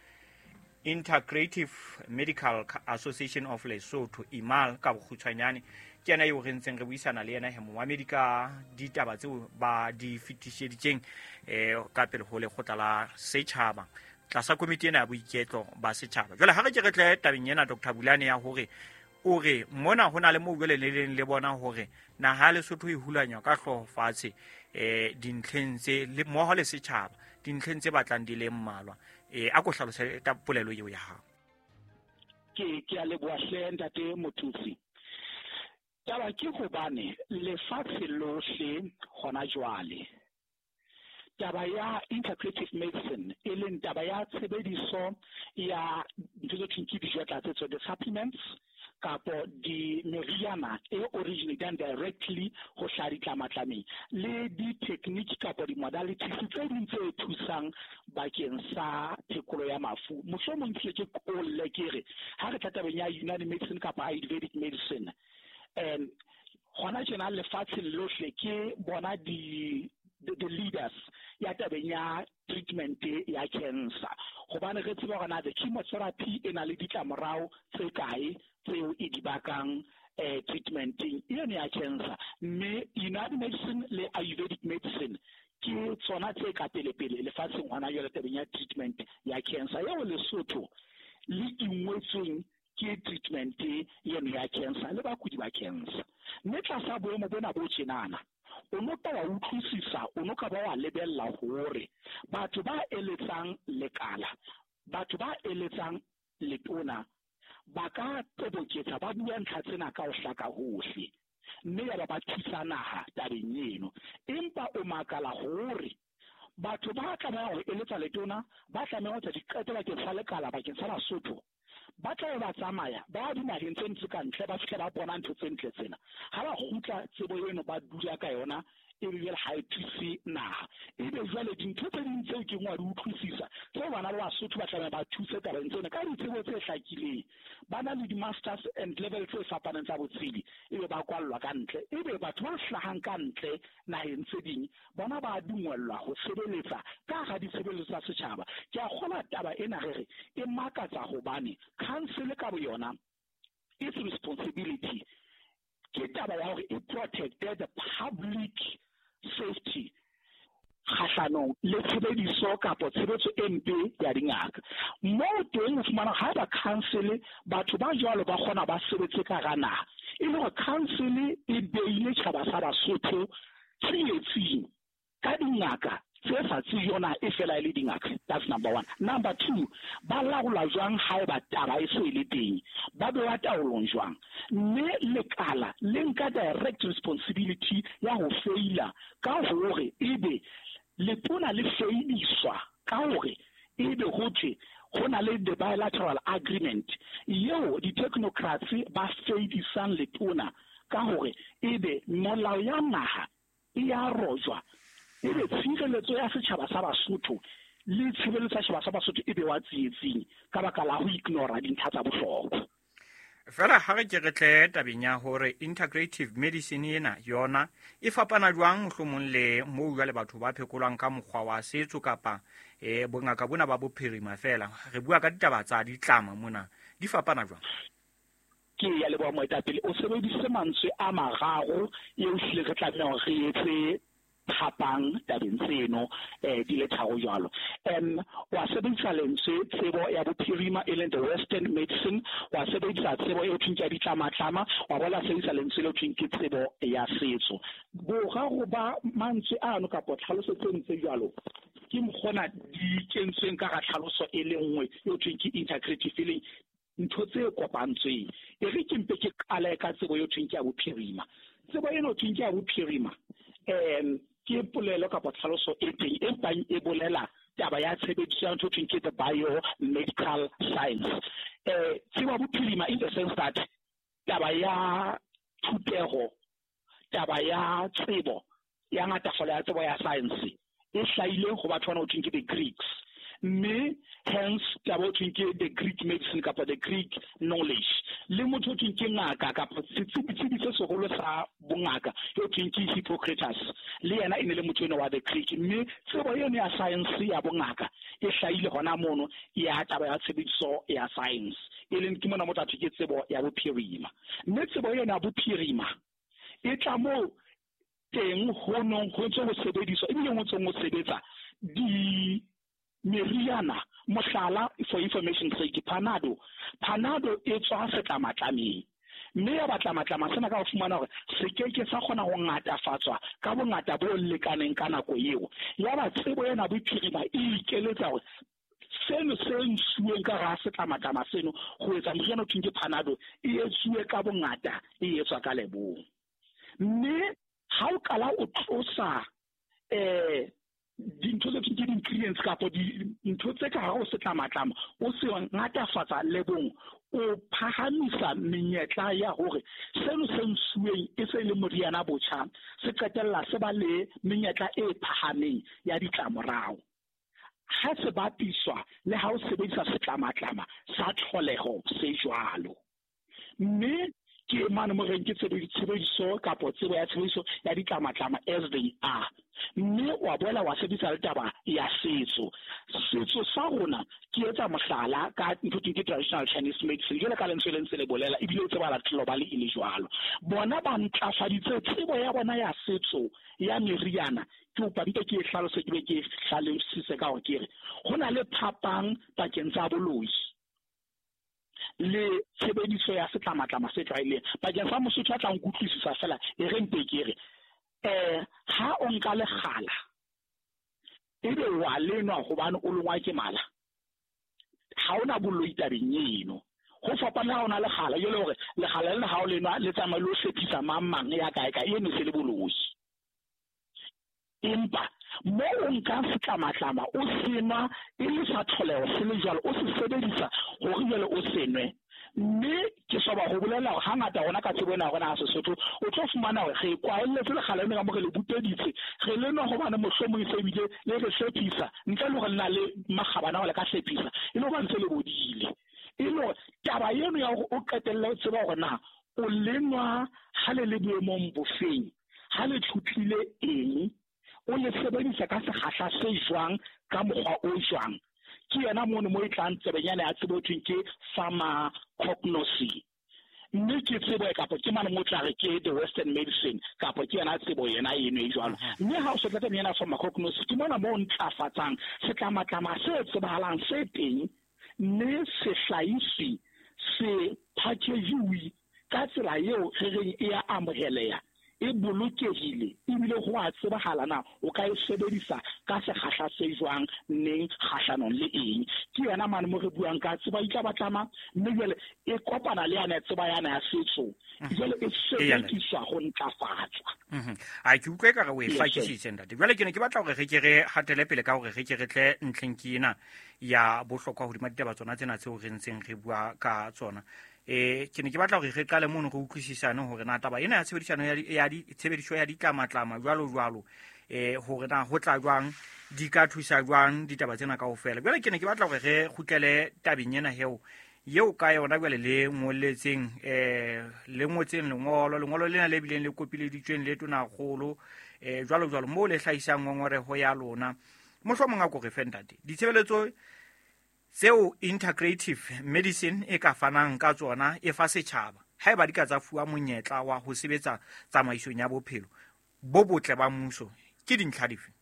C: Integrative Medical Association of Lesotho I M A L ka bokgutshwanyane. Ke yena eo re ntseng re buisana le yena he momamedi ka ditaba tseo ba di fetiseditseng eh ka pele ho lekgotla la setjhaba tlasa komiti ena ya boiketlo ba setjhaba. Jwale ha re ke re tle tabeng ena Doctor Bulane ya hore o re mona ho na le moo jwale le leng le bona hore naha ya Lesotho e hulanywa ka hlooho fatshe eh dintlheng tse le mmoho le setjhaba dintlheng tse batlang di le mmalwa. Eh a ko hlalose ka polelo eo ya hao.
N: Ke ke a leboha hle ntate Mothusi. Taba ke hobane lefatshe lohle hona jwale taba ya integrative medicine e leng taba ya tshebediso ya ntho tse thweng ke dijo tlatsetso, the supplements kapo di meriana e originating directly ho hlaha ditlamatlameng le di-technique kapo di-modalities tse ding tse thusang bakeng sa phekolo ya mafu. Mohlomong ke ke kolle ke re ha re tla tabeng ya Unani medicine kapa Ayurvedic medicine, um hona tjena lefatsheng lohle ke bona di the, the leaders ya tabeng ya treatment ya cancer, hobane re tseba hore na the chemotherapy e na le ditlamorao tse kae tseo e di bakang eh treatmenting eno ya cancer. Mme Unani medicine le Ayurvedic medicine ke tsona tse ka pele-pele lefatsheng hona jwale tabeng ya treatment ya cancer eo Lesotho le ingwetsweng ke treatment eno ya cancer le bakudi ba cancer. Mme tlasa boemo bona bo tjenana o no ka wa utlwisisa, o no ka ba wa lebella hore batho ba eletsang lekala, batho ba eletsang letona ba ka toboketsa ba bua ntlha tsena ka ho hlaka hohle, mme ya ba ba thusa naha tabeng eno. Empa o makala hore batho ba tlameha ho eletsa letona, ba tlameha ho etsa diqeto bakeng sa lekala, bakeng sa Basotho, ba tla ba tsamaya ba dinaheng tse ntse ka ntle, ba fihla ba bona ntho tse ntle tsena, ha ba kgutla tsebo eno ba dula ka yona e be ha e thuse naha. Ebe jwale dintho tse ding tseo ke ngwa di utlwisisa tseo bana ba Basotho ba tlameha ba thuse tabeng tsena ka ditsebo tse hlakileng, ba na le di-masters and level tse fapaneng tsa botsebi, ebe ba kwallwa ka ntle. Ebe batho ba hlahang ka ntle naheng tse ding bona ba dungwellwa ho sebeletsa ka hara ditshebeletso tsa setjhaba. Ke a kgolwa taba ena re re e makatsa hobane council ka boyona its responsibility ke taba ya hore e protect the public safety kgahlanong le tshebediso kapa tshebetso e mpe ya dingaka. Moo teng o fumana ha ba council batho ba jwalo ba kgona ba sebetse ka hara naha, e le hore council e beile tjhaba sa Basotho tsietsing ka dingaka tse sa tsejona e fela e le dingaka. That's number one. Number two, ba laola jwang haeba taba e se e le teng, ba bewa taolong jwang? Mme lekala le nka direct responsibility ya ho feila ka hore ebe letona le feidiswa ka hore ebe ho thwe ho na le the bilateral agreement eo di-technocrats ba feidisang letona ka hore ebe molao ya naha e ya rojwa, ebe tshireletso ya setjhaba sa Basotho le tshireletso ya setjhaba sa Basotho e bewa tsietsing ka baka la ho ignora dintlha tsa bohlokwa.
C: Fela ha re ke re tle tabeng ya hore integrative medicine ena yona e fapana jwang mohlomong le moo jwale batho ba phekolwang ka mokgwa wa setso kapa eh bongaka bona ba bophirima fela, re bua ka ditaba tsa ditlama mona, di fapana jwang?
N: Ke ya leboha moetapele, o sebedise mantswe a mararo eo hlile re tlameha hore re etse phapang tabeng tseno eh di le tharo jwalo. Um wa sebedisa lentswe tsebo ya bophirima e leng the western medicine, wa sebedisa tsebo e thweng ke ya ditlamatlama, wa boela sebedisa lentswe le thweng ke tsebo ya setso. Boraro ba mantswe ano kapa tlhaloso tse ntse jwalo ke mokgona di kentsweng ka ga tlhaloso e le nngwe e thweng ke integrative, e leng ntho tse kopantsweng. E re ke mpe ke qale ka tsebo eo thweng ke ya bophirima. Tsebo eno thweng ke ya bophirima um ke polelo kapa tlhaloso e teng e mpang e bolela taba ya tshebediso ya ntho thweng ke the biomedical science. Eh tsebo ya bophirima in the sense that taba ya thutego, taba ya tsebo ya ngatafalo ya tsebo ya science e hlahile ho batho bana ho thweng ke the Greeks, mme hence taba ho thweng ke the Greek medicine kapa the Greek knowledge. Le motho ho thweng ke ngaka kapa setsebi se seholo sa bongaka ho thweng ke Hippocrates, le yena e ne le motho eno wa the Greek. Mme tsebo eno ya science ya bongaka e hlahile hona mono ya taba ya tshebediso ya science, e leng ke mona motho a thwe ke tsebo ya bophirima. Mme tsebo eno ya bophirima e tla moo teng ho nong ho ntse ho sebediswa ebile ho ntse ho sebetsa di meriana. Mohlala, for information sake, Panado. Panado e tswa setlamatlameng, mme ya batlamatlama sena ka ho fumana hore se keke sa kgona ho ngatafatswa ka bongata bo lekaneng ka nako eo. Ya ba tsebo ena bophirima e ikeletsa hore seno se nsuweng ka hara setlamatlama seno ho etsa moriana o thweng ke Panado e etsuwe ka bongata, e etswa ka lebong. Mme ha o qala o tlosa eh dintho tse thweng ke di-ingredients kapa dintho tse ka hare ho setlamatlama o se ngatafatsa lebong, o phahamisa menyetla ya hore seno se nsuweng e se le moriana botjha se qetella se ba le menyetla e phahameng ya ditlamorao ha se bapiswa le ha o sebedisa setlamatlama sa tlholeho se jwalo. Mme ke mane mo reng ke tshebediso kapa tsebo ya tshebediso ya ditlamatlama as they are. Mme wa boela wa sebedisa le taba ya setso. Setso sa rona ke etsa mohlala ka ntho e ke traditional Chinese medicine, jwalo ka lentswe le ntse le bolela ebile o tsebala globally e le jwalo. Bona ba ntlafaditse tsebo ya bona ya setso ya meriana. Ke kopa mpe ke e hlalose, ke be ke e hlalosise ka hore ke re ho na le phapang pakeng tsa boloi le tshebediso ya setlamatlama se tlwaelehileng. Bakeng sa Mosotho a tla nkutlwisisa fela, e re mpe ke re eh ha o nka lekgala ebe wa lenwa hobane o longwa ke mala, ha ona boloi tabeng eno. Ho fapana ha ona lekgala e le hore lekgala lena ha o lenwa le tsamaya le o hlephisa mang mang ya kae kae, eno se le boloi. Empa mo o nka setlamatlama o senwa e le sa tlholeho se le jwalo, o se sebedisa hore jwale o senwe. Mme ke soba ho bolela hore hangata rona ka tsebo ena ya rona ya Sesotho o tlo fumana hore re kwaelletse lekgala lena ka mo re le buteditse, re lenwa hobane mohlomong e se ebile le re hlephisa ntle le hore le na le makgabane a hore le ka hlephisa, e le hobane se le bodile. E le hore taba eno ya hore o qetelle o tseba hore na o lenwa ha le le boemong bofeng, ha le tjhutlile eng, o le sebedisa ka sekgahla se jwang, ka mokgwa o jwang. Ke yena mono mo e tlang tsebenyana ya tsebo thweng ke pharmacognosy. Mme ke tsebo e kapa ke mane mo tla re ke the western medicine kapa ke yena tsebo yena eno e jwalo. Mme ha o se tla tabeng ena pharmacognosy, ke mona mo o ntlafatsang setlamatlama se tsebahalang se teng, mme se hlahiswe se package-iwe ka tsela eo re reng e ya amoheleha, e bolokehile ebile ho a tsebahala na o ka e sebedisa ka sekgahla se jwang, neng, kgahlanong le eng. Ke yona mane mo re buang ka tsebo ya ditlamatlama, mme jwale e kopana le yane tsebo yana ya setso, jwale e sebediswa ho ntlafatswa.
C: A ke utlwe ekare o e hlakisitse ntate. Jwale ke ne ke batla hore re ke re hatele pele ka hore re ke re tle ntlheng ke ena ya bohlokwa hodima ditaba tsona tsena tseo re ntseng re bua ka tsona. Eh ke ne ke batla hore re qale mono re utlwisisane hore na taba ena ya tshebedisano ya ya tshebediso ya ditlamatlama jwalo jwalo eh hore na ho tla jwang, di ka thusa jwang ditaba tsena kaofela. Jwale ke ne ke batla hore re kgutlele tabeng ena heo eo ka yona jwale le ngolletseng eh le ngotseng lengolo, lengolo lena le bileng le kopileditsweng le tonakgolo eh jwalo jwalo moo le hlahisang ngongoreho ya lona. Mohlomong a ko re fe ntate ditshebeletso tseo integrative medicine e ka fanang ka tsona e fa setjhaba haeba di ka tsa fuwa monyetla wa ho sebetsa tsamaisong ya bophelo bo botle ba mmuso, ke dintlha dife?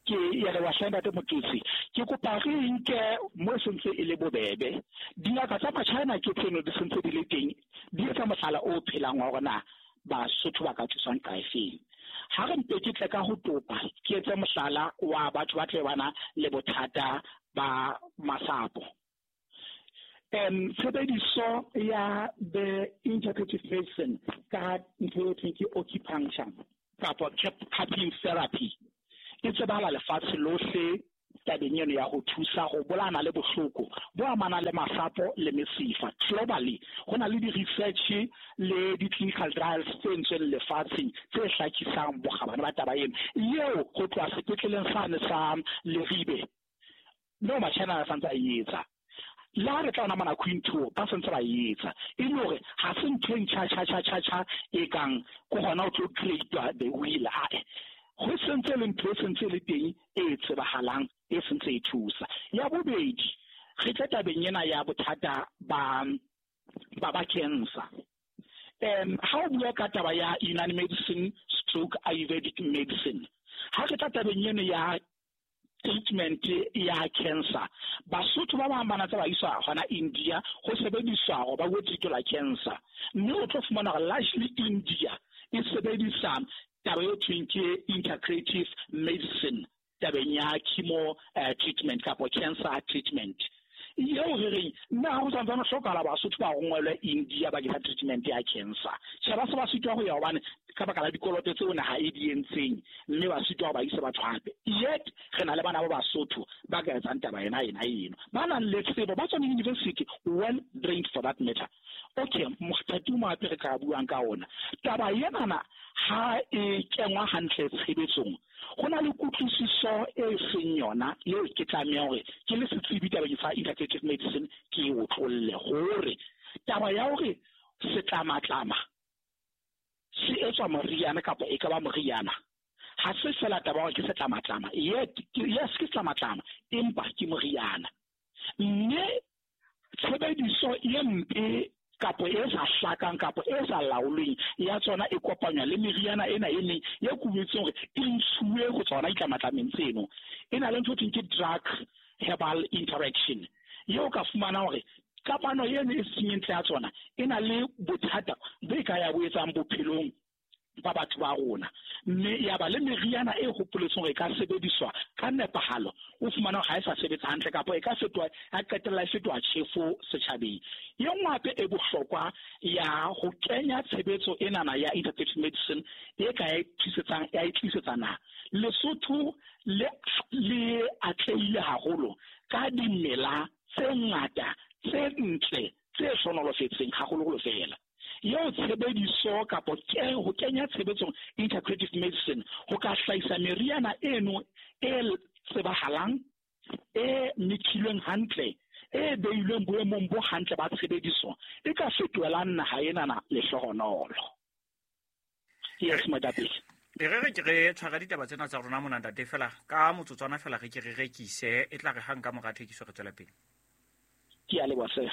N: Ke ya re wa ntate Motutsi, ke kopa re nke mo sentse e le bobebe. Dingaka tsa Machina ke tseno di sentse di le teng, di etsa mohlala o phelang wa hore na Basotho ba ka thuswang ka efeng. Ha re mpe ke tle ka ho topa, ke etse mohlala wa batho ba tle bana le bothata ba masapo. Um tshebediso ya the integrative medicine ka ntho e thweng ke acupuncture kapa cupping therapy e tsebahala lefatshe lohle tabeng eno ya ho thusa ho bolana le bohloko bo amanang le masapo le mesifa. Globally ho na le di-research le di-clinical trials tse entsweng lefatsheng tse hlakisang bokgabane ba taba eno eo ho tloha sepetleleng sane sa Leribe no Machina a santse a e etsa. Le ha re tla ona mona Queen two ba santse ba e etsa, e le hore ha se ntho e ntjha tjha tjha tjha tjha e kang ko hona o tlo create the wheel. Ae, ho sentse le ntho e sentse le teng e tsebahalang e sentse e thusa. Ya bobedi, re tla tabeng ena ya bothata ba ba ba cancer. Um ha o bua ka taba ya Unani medicine stroke Ayurvedic medicine, ha re tla tabeng ena ya treatment ya cancer, Basotho ba bang ba na tse ba iswa hona India ho sebediswa hore ba go treatela cancer, mme o tlo fumana hore largely India e sebedisa taba e thweng ke integrative medicine tabeng ya chemo uh, treatment kapa cancer treatment. Eo re reng nna ha ho santsane hlokahala Basotho ba rongwelwe India bakeng sa treatment ya cancer. Tjhe, ba se ba sitwa ho ya hobane ka baka la dikoloto tseo naha e di entseng, mme ba sitwa ho ba isa batho hape. Yet re na le bana ba Basotho ba ka etsang taba ena ena eno, ba nang le tsebo, ba tswang university, well trained for that matter. Okay, mothati o hape re ka buang ka ona taba enana ha e kengwa hantle tshebetsong, go na le kutlwisiso e seng yona eo ke tlamehang hore ke le setsebi tabeng sa integrative medicine ke e otlolle hore taba ya hore setlamatlama se etswa moriana kapa e ka ba moriana ha se fela taba hore ke setlamatlama. Yet yes, ke setlamatlama empa ke moriana, mme tshebediso e mpe kapo e sa hlakang kapo e sa laolweng ya tsona e kopanywa le meriana ena e meng e kubetseng hore e ntshuwe go tsona ditlamatlameng tseno. E na le ntho e thweng ke drug herbal interaction eo ka fumana hore kamano eno e seng ntle ya tsona e na le bothata bo e ka ya bo etsang bophelong ba batho ba rona, mme ya ba le meriana e hopoletseng hore e ka sebediswa ka nepahalo, o fumana hore ha e sa sebetsa hantle kapa e ka fetoha, ya qetella e fetoha tjhefo setjhabeng. E nngwe hape e bohlokwa ya ho kenya tshebetso enana ya integrative medicine e ka e tlisetsang ya e tlisetsa naha Lesotho le le atlehile haholo ka dimela tse ngata tse ntle tse hlonolofetseng haholoholo fela. Eo tshebediso kapo ke ho kenya tshebetsong integrative medicine ho ka hlahisa meriana eno e tsebahalang, e mekilweng hantle, e beilweng boemong bo hantle ba tshebediso, e ka fetohelang naha enana lehlohonolo. Yes, moetapele.
C: E re re ke re tshwara ditaba tsena tsa rona mona ntate fela ka motsotswana fela re ke re rekise, e tla re hang ka mora thekiso re tswela pele.
N: Ke a leboha sir.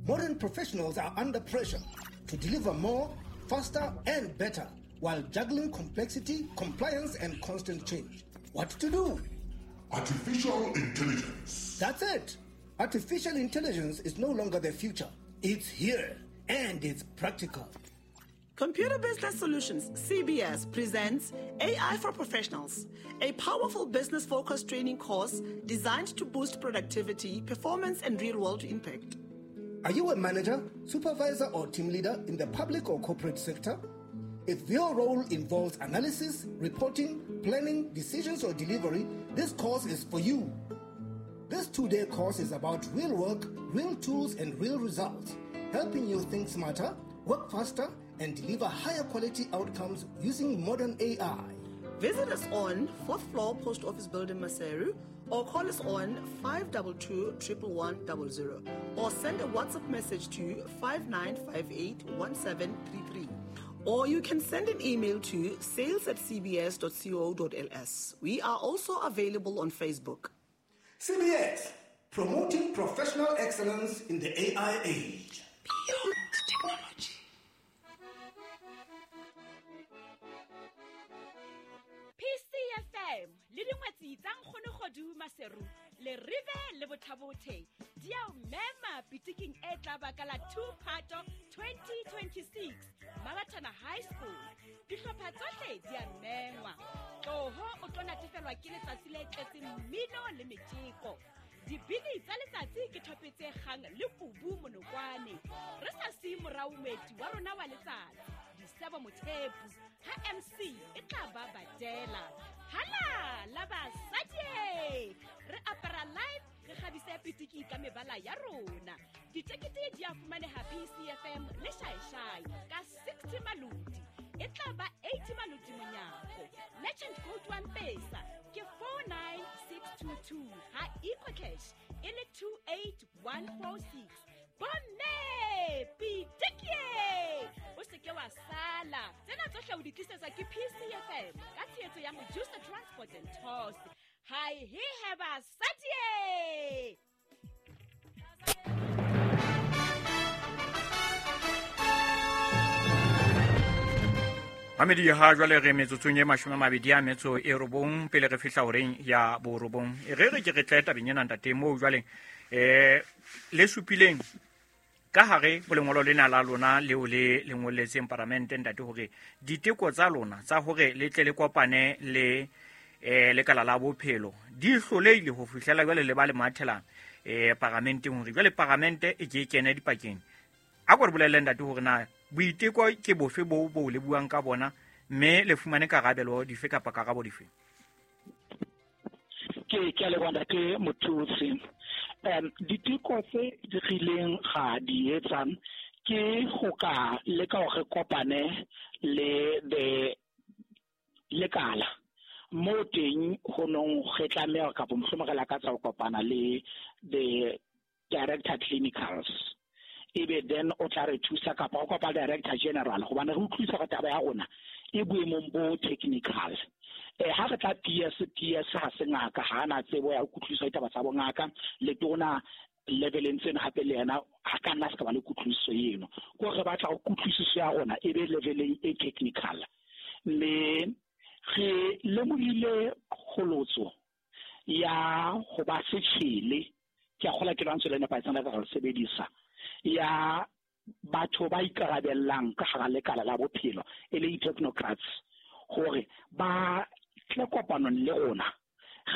J: Modern professionals are under pressure to deliver more, faster, and better while juggling complexity, compliance, and constant change. What to do?
E: Artificial intelligence.
J: That's it. Artificial intelligence is no longer the future. It's here, and it's practical.
P: Computer Business Solutions, C B S, presents A I for Professionals, a powerful business-focused training course designed to boost productivity, performance, and real-world impact.
J: Are you a manager, supervisor, or team leader in the public or corporate sector? If your role involves analysis, reporting, planning, decisions, or delivery, this course is for you. This two-day course is about real work, real tools, and real results, helping you think smarter, work faster, and deliver higher quality outcomes using modern A I.
P: Visit us on fourth floor Post Office Building, Maseru, or call us on five two two, one one one zero zero, or send a WhatsApp message to five nine five eight, one seven three three. Or you can send an email to sales at c b s dot co dot l s. We are also available on Facebook.
J: C B S, promoting professional excellence in the A I age.
P: Beyond technology.
A: P C F M le dingwetsi tsa Nkgonogodu Maseru le Rive le Bothabothe di a o mema pitiking e tla ba ka la two Phato twenty twenty-six Mabatana High School. Dihlopha tsohle di a mengwa. Tloho o tlo natefelwa ke letsatsi le tletseng mmino le metjeko. Dibini tsa letsatsi ke thope tse kgang le kubu monokwane. Re sa siye morao moeti wa rona wa letsatsi, Disebo Mothepu, ha M C e tla ba badela. Hala la basadi! Re apara live, re kgabise pitiki ka mebala ya rona. Ditekete di a fumaneha P C F M le Shaeshai ka sixty maloti. E tla ba eighty maloti monyako. Merchant code wa M-Pesa ke four nine six two two ha EcoCash e le two eight one four six. Bomme pitiki! O se ke wa sala. Tsena tsohle o di tlisetswa ke P C F M ka tshehetso ya Mojusa Transport and Tours. Hi he he basadi!
C: Mamedi ha jwale re metsotsong e mashome a mabedi a metso e robong pele re fihla horeng ya borobong. E re re ke re tle tabeng ena ntate moo jwale eh le supileng ka hare ho lengolo lena la lona leo le le ngolletseng paramente ntate hore diteko tsa lona tsa hore le tle le kopane le eh lekala la bophelo di hloleile ho fihlela jwale le ba le mathelang eh paramenteng hore jwale paramente e ke kene dipakeng. A ko re bolelle ntate hore na boiteko ke bofe bo bo le buang ka bona mme le fumane karabelo dife kapa karabo dife?
N: Ke ke a leboha ntate Mothusi. Um diteko tse di rileng ga di etsang ke go ka leka hore kopane le the lekala mo teng ho nong re tlameha kapa mohlomong re lakatsa ho kopana le the director clinicals, ebe then o tla re thusa kapa o kopa director general hobane re utlwisa ka taba ya rona e boemong bo technical. Eh ha re tla P S P S ha se ngaka, ha ana tsebo ya ho kutlwisisa ditaba tsa bongaka, le tona leveleng tseno hape le yena ha ka nna se ka ba le kutlwisiso eno. Ko re batla ho kutlwisiso ya rona e be leveleng e technical. Mme re lemohile kgolotso ya ho ba setjhele, ke a kgola ke lwantswe le nepahetseng la ka re sebedisa, ya batho ba ikarabellang ka hara lekala la bophelo e leng technocrats, hore ba tle kopanong le rona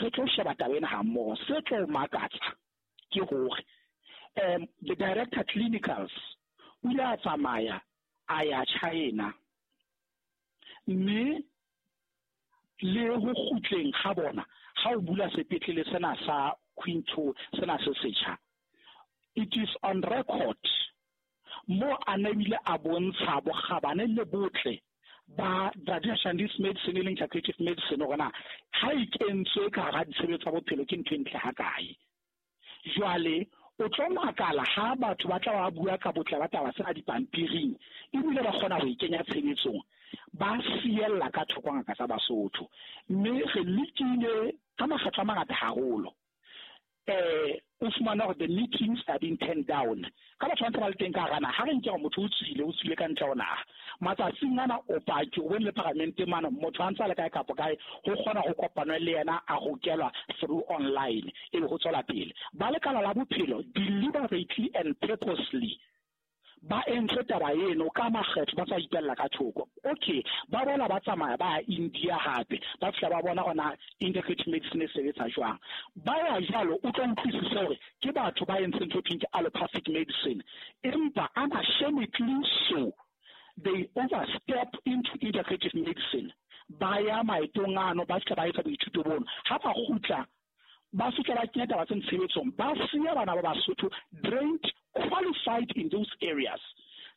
N: re tlo sheba taba ena ha mmoho. Se tlo makatsa ke hore um the director clinicals o ile a tsamaya a ya China, mme le ho kgutleng ga bona ha o bula sepetlele sena sa Quinto sena se setjha, it is on record mo a ne bile a bontsha bokgabane le botle ba traditional Chinese medicine e leng integrative medicine hore na ha e kentswe ka hara ditshebetso tsa bophelo ke ntho e ntle hakae. Jwale o tlo makala ha batho ba tla ba bua ka botle ba taba tsena dipampiring ebile ba kgona ho e kenya tshebetsong, ba siella ka thoko ngaka tsa Basotho. Mme re lekile ka makgetlo a mangata haholo eh o fumana hore the meetings are being turned down ka batho ba ntse ba le teng ka hara naha. Ha re nke hore motho o tswile o tswile ka ntle ho naha matsatsing ana o paki o bone le paramente mane motho a ntse a le kae kapa kae ho kgona ho kopanwa le yena a hokelwa through online e be ho tswela pele. Ba lekala la bophelo deliberately and purposely ba entse taba eno ka makgetlo ba sa ipella ka thoko. Okay, ba bona ba tsamaya ba India hape ba fihla ba bona hona integrated medicine e sebetsa jwang. Ba ya jwalo o tlo utlwisisa hore ke batho ba entseng ntho e thweng ke allopathic medicine, empa unashamedly so they overstep into integrative medicine. Ba ya maetong ano ba fihla ba etsa boithuto bono, ha ba kgutla ba fihla ba kenya taba tse tshebetsong, ba siya bana ba Basotho drained, qualified in those areas.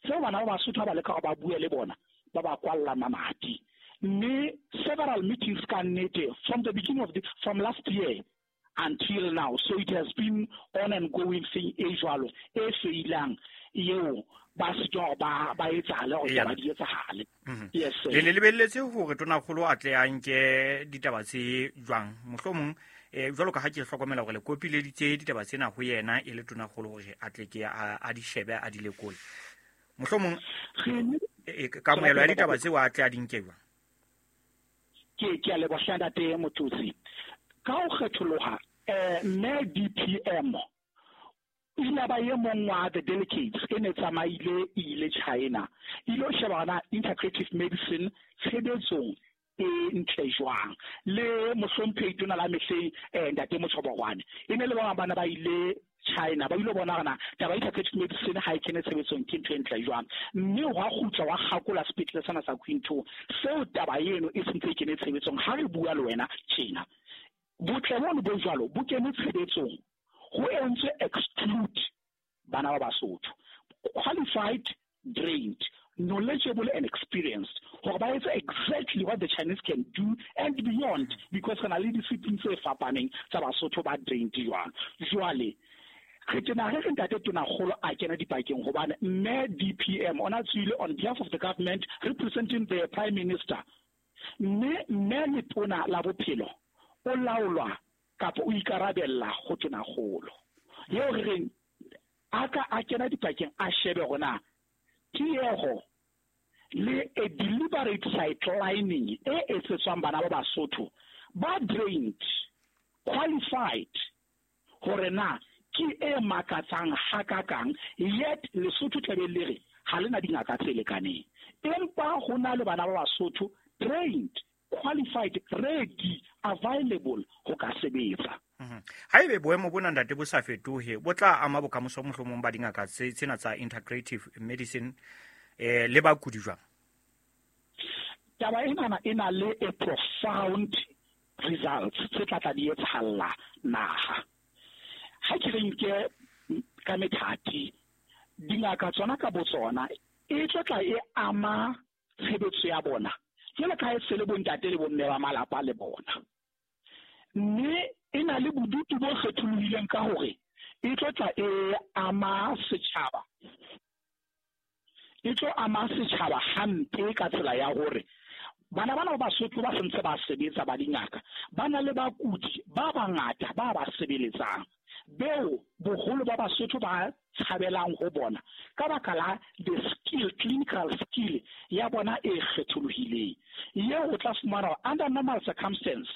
N: Tseo bana ba Basotho ba leka hore ba bue le bona ba ba kwalla mamati. Mme several meetings ka nnete from the beginning of the from last year until now, so it has been on and going thing e jwalo e feilang eo ba sitwa ba ba etsahale hore ba di etsahale. Yes sir.
C: Le le lebelletse hore tonakgolo a tle a nke ditaba tse jwang mohlomong eh jwalo ka ha ke hlokomela hore le kopileditse ditaba tsena ho yena e le tonakgolo hore a tle ke a di shebe a di lekole mohlomong kamohelo ya ditaba tseo a tle a di nke jwang?
N: Ke ke a leboha ntate Mothusi. Ka ho kgetholoha eh mme D P M o ile ba e mong wa the delegates e ne tsamaile ile China ile ho sheba hona integrative medicine tshebetsong e ntle jwang. Le mohlomphehi tona la mehleng eh ntate Motshobokwane e ne le ba bana ba ile China ba ile bona gana taba e integrative medicine ha e kene tshebetsong ke ntho e ntle jwang, mme hwa kgutla wa kgakola sepetlele sena sa Queen two seo taba eno e sentse e kene tshebetsong. Ha re bua le wena tjena, botle bono bo jwalo bo kene tshebetsong ho entswe exclude bana ba Basotho, qualified, trained, knowledgeable and experienced, hore ba etse exactly what the Chinese can do and beyond, because re na le discipline tse fapaneng tsa Basotho ba trained jwang. Jwale re tena re re ntate Tonakgolo a kena dipakeng hobane mme D P M ona tswile on behalf of the government representing the Prime Minister, mme mme letona la bophelo o laolwa kapa o ikarabella ho Tonakgolo. Yeo re reng a ka a kena dipakeng a shebe hore na tieho le a deliberate sidelining e etsetswang bana ba Basotho ba trained, qualified, hore na ke e makatsang hakakang, yet Lesotho tlabe le re ha le na dingaka tse lekaneng, empa ho na le bana ba Basotho trained, qualified, ready, available ho ka sebetsa.
C: Haebe boemo bona ntate bo sa fetohe, bo tla ama bokamoso mohlomong ba dingaka tse tsena tsa integrative medicine eh le bakudi jwang?
N: Taba ena e na le a profound results tse tla tla di etsahalla naha. Ha ke re nke ka methati, dingaka tsona ka botsona e tlo tla e ama tshebetso ya bona jwalo ka ha e se le bontate le bomme ba malapa le bona, mme e na le bodutu bo kgetholohileng ka hore e tlo tla e ama setjhaba, e tlo ama setjhaba hampe ka tsela ya hore bana bana ba Basotho ba sentse ba sebetsa ba dingaka ba na le bakudi ba bangata ba ba sebeletsang, beo boholo ba Basotho ba tshabelang ho bona ka baka la the skill, clinical skill ya bona e kgetholohileng. Eo o tla fumana under normal circumstance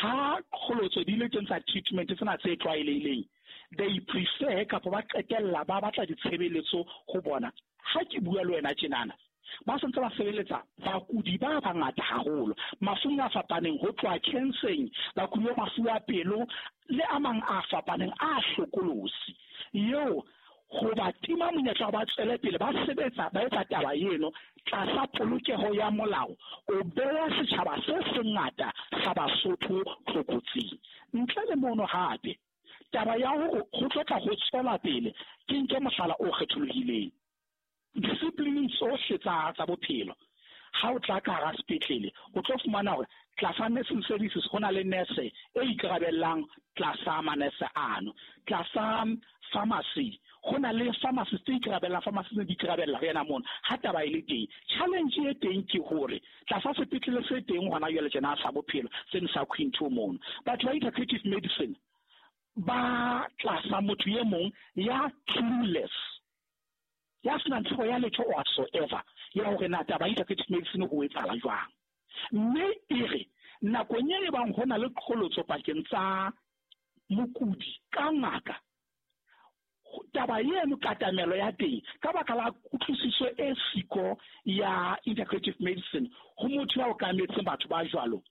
N: ha kgolotso di le teng tsa treatment tsena tse tlwaelehileng, they prefer kapa ba qetella ba batla ditshebeletso ho bona. Ha ke bua le wena tjenana, ba sentse ba sebeletsa bakudi ba bangata haholo mafung a fapaneng, ho tloha cancering, bakudi ba mafu a pelo le a mang a fapaneng a hlokolosi. Eo ho ba tima monyetla ba tswele pele ba sebetsa ba etsa taba eno tlasa polokeho ya molao, o beha setjhaba se sengata sa Basotho tlokotsing. Ntle le mono hape, taba ya hore ho tlo tla ho tswela pele, ke nke mohlala o kgetholohileng. Discipline tsohle tsa tsa bophelo, ha o tla ka hara sepetlele o tlo fumana hore tlasa nursing services ho na le nurse e ikarabellang tlasa manese ano, tlasa pharmacy ho na le pharmacist e ikarabellang, pharmacist di ikarabella re yena mono. Ha taba e le teng, challenge e teng ke hore tlasa sepetlele se teng hona jwale tjena sa bophelo seno sa Queen two mono, batho ba integrative medicine ba tlasa motho e mong ya clueless, ya senang tsebo ya letho whatsoever ya hore na taba ya integrative medicine ho etsahala jwang. Mme e re nakong e bang ho na le qholotso pakeng tsa mokudi ka ngaka, taba eno katamelo ya teng ka baka la kutlwisiso e siko ya integrative medicine ho motho ya okametseng batho ba jwalo,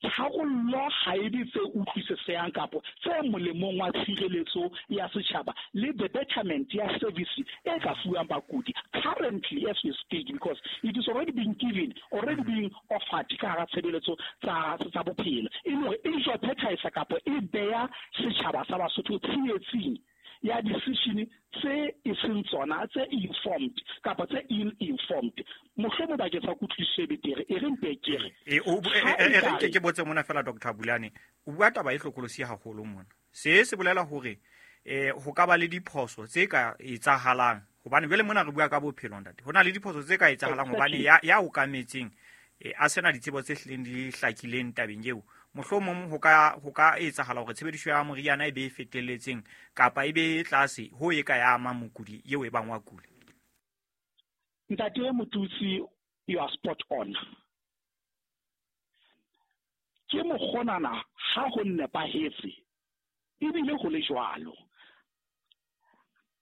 N: tharollo ha e be tse utlwisisehang kapo tse molemong wa tshireletso ya setjhaba le the betterment ya service e ka fuwang bakudi currently as we speak, because it is already being given, already being offered ka hara tshebeletso tsa tsa bophelo, e le hore e jeopardize kapo e beya setjhaba sa Basotho tsietsing ya decision tse e seng tsona, tse informed kapa tse ill-informed. Mohlomong bakeng sa kutlwisiso e betere, e re mpe ke re
C: e re nke ke botse mona fela Doctor Bulane, o bua taba e hlokolosi haholo mona. Se se bolela hore eh ho ka ba le diphoso tse ka etsahalang, hobane jwale mona re bua ka bophelo ntate, ho na le diphoso tse ka etsahalang hobane ya ya okametseng a sena ditsebo tse hlileng di hlakileng tabeng eo. Mohlomong ho ka ho ka etsahala hore tshebediso ya moriana e be e fetelletseng kapa e be tlase ho e ka ya ama mokudi eo e bang wa kula.
N: Ntate Motutsi, you are spot on. Ke mokgonana ha ho nepahetse ebile ho le jwalo.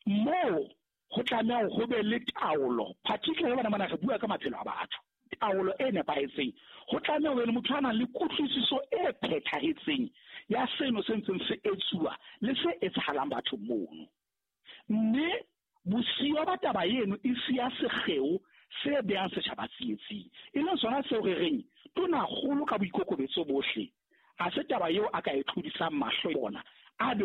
N: Moo ho tlameha ho be le taolo, particularly bana bana re bua ka maphelo a batho. taolo e nepahetseng, ho tlameha ho be le motho a nang le kutlwisiso e phethahetseng ya seno se ntseng se etsuwa le se etsahalang bathong mono. Mme bosiyo ba taba eno e siya sekgeo se behang setjhaba tsietsing, e leng sona seo re reng tonakgolo ka boikokobetso bohle ha se taba eo a ka e tlodisang mahlo yona a be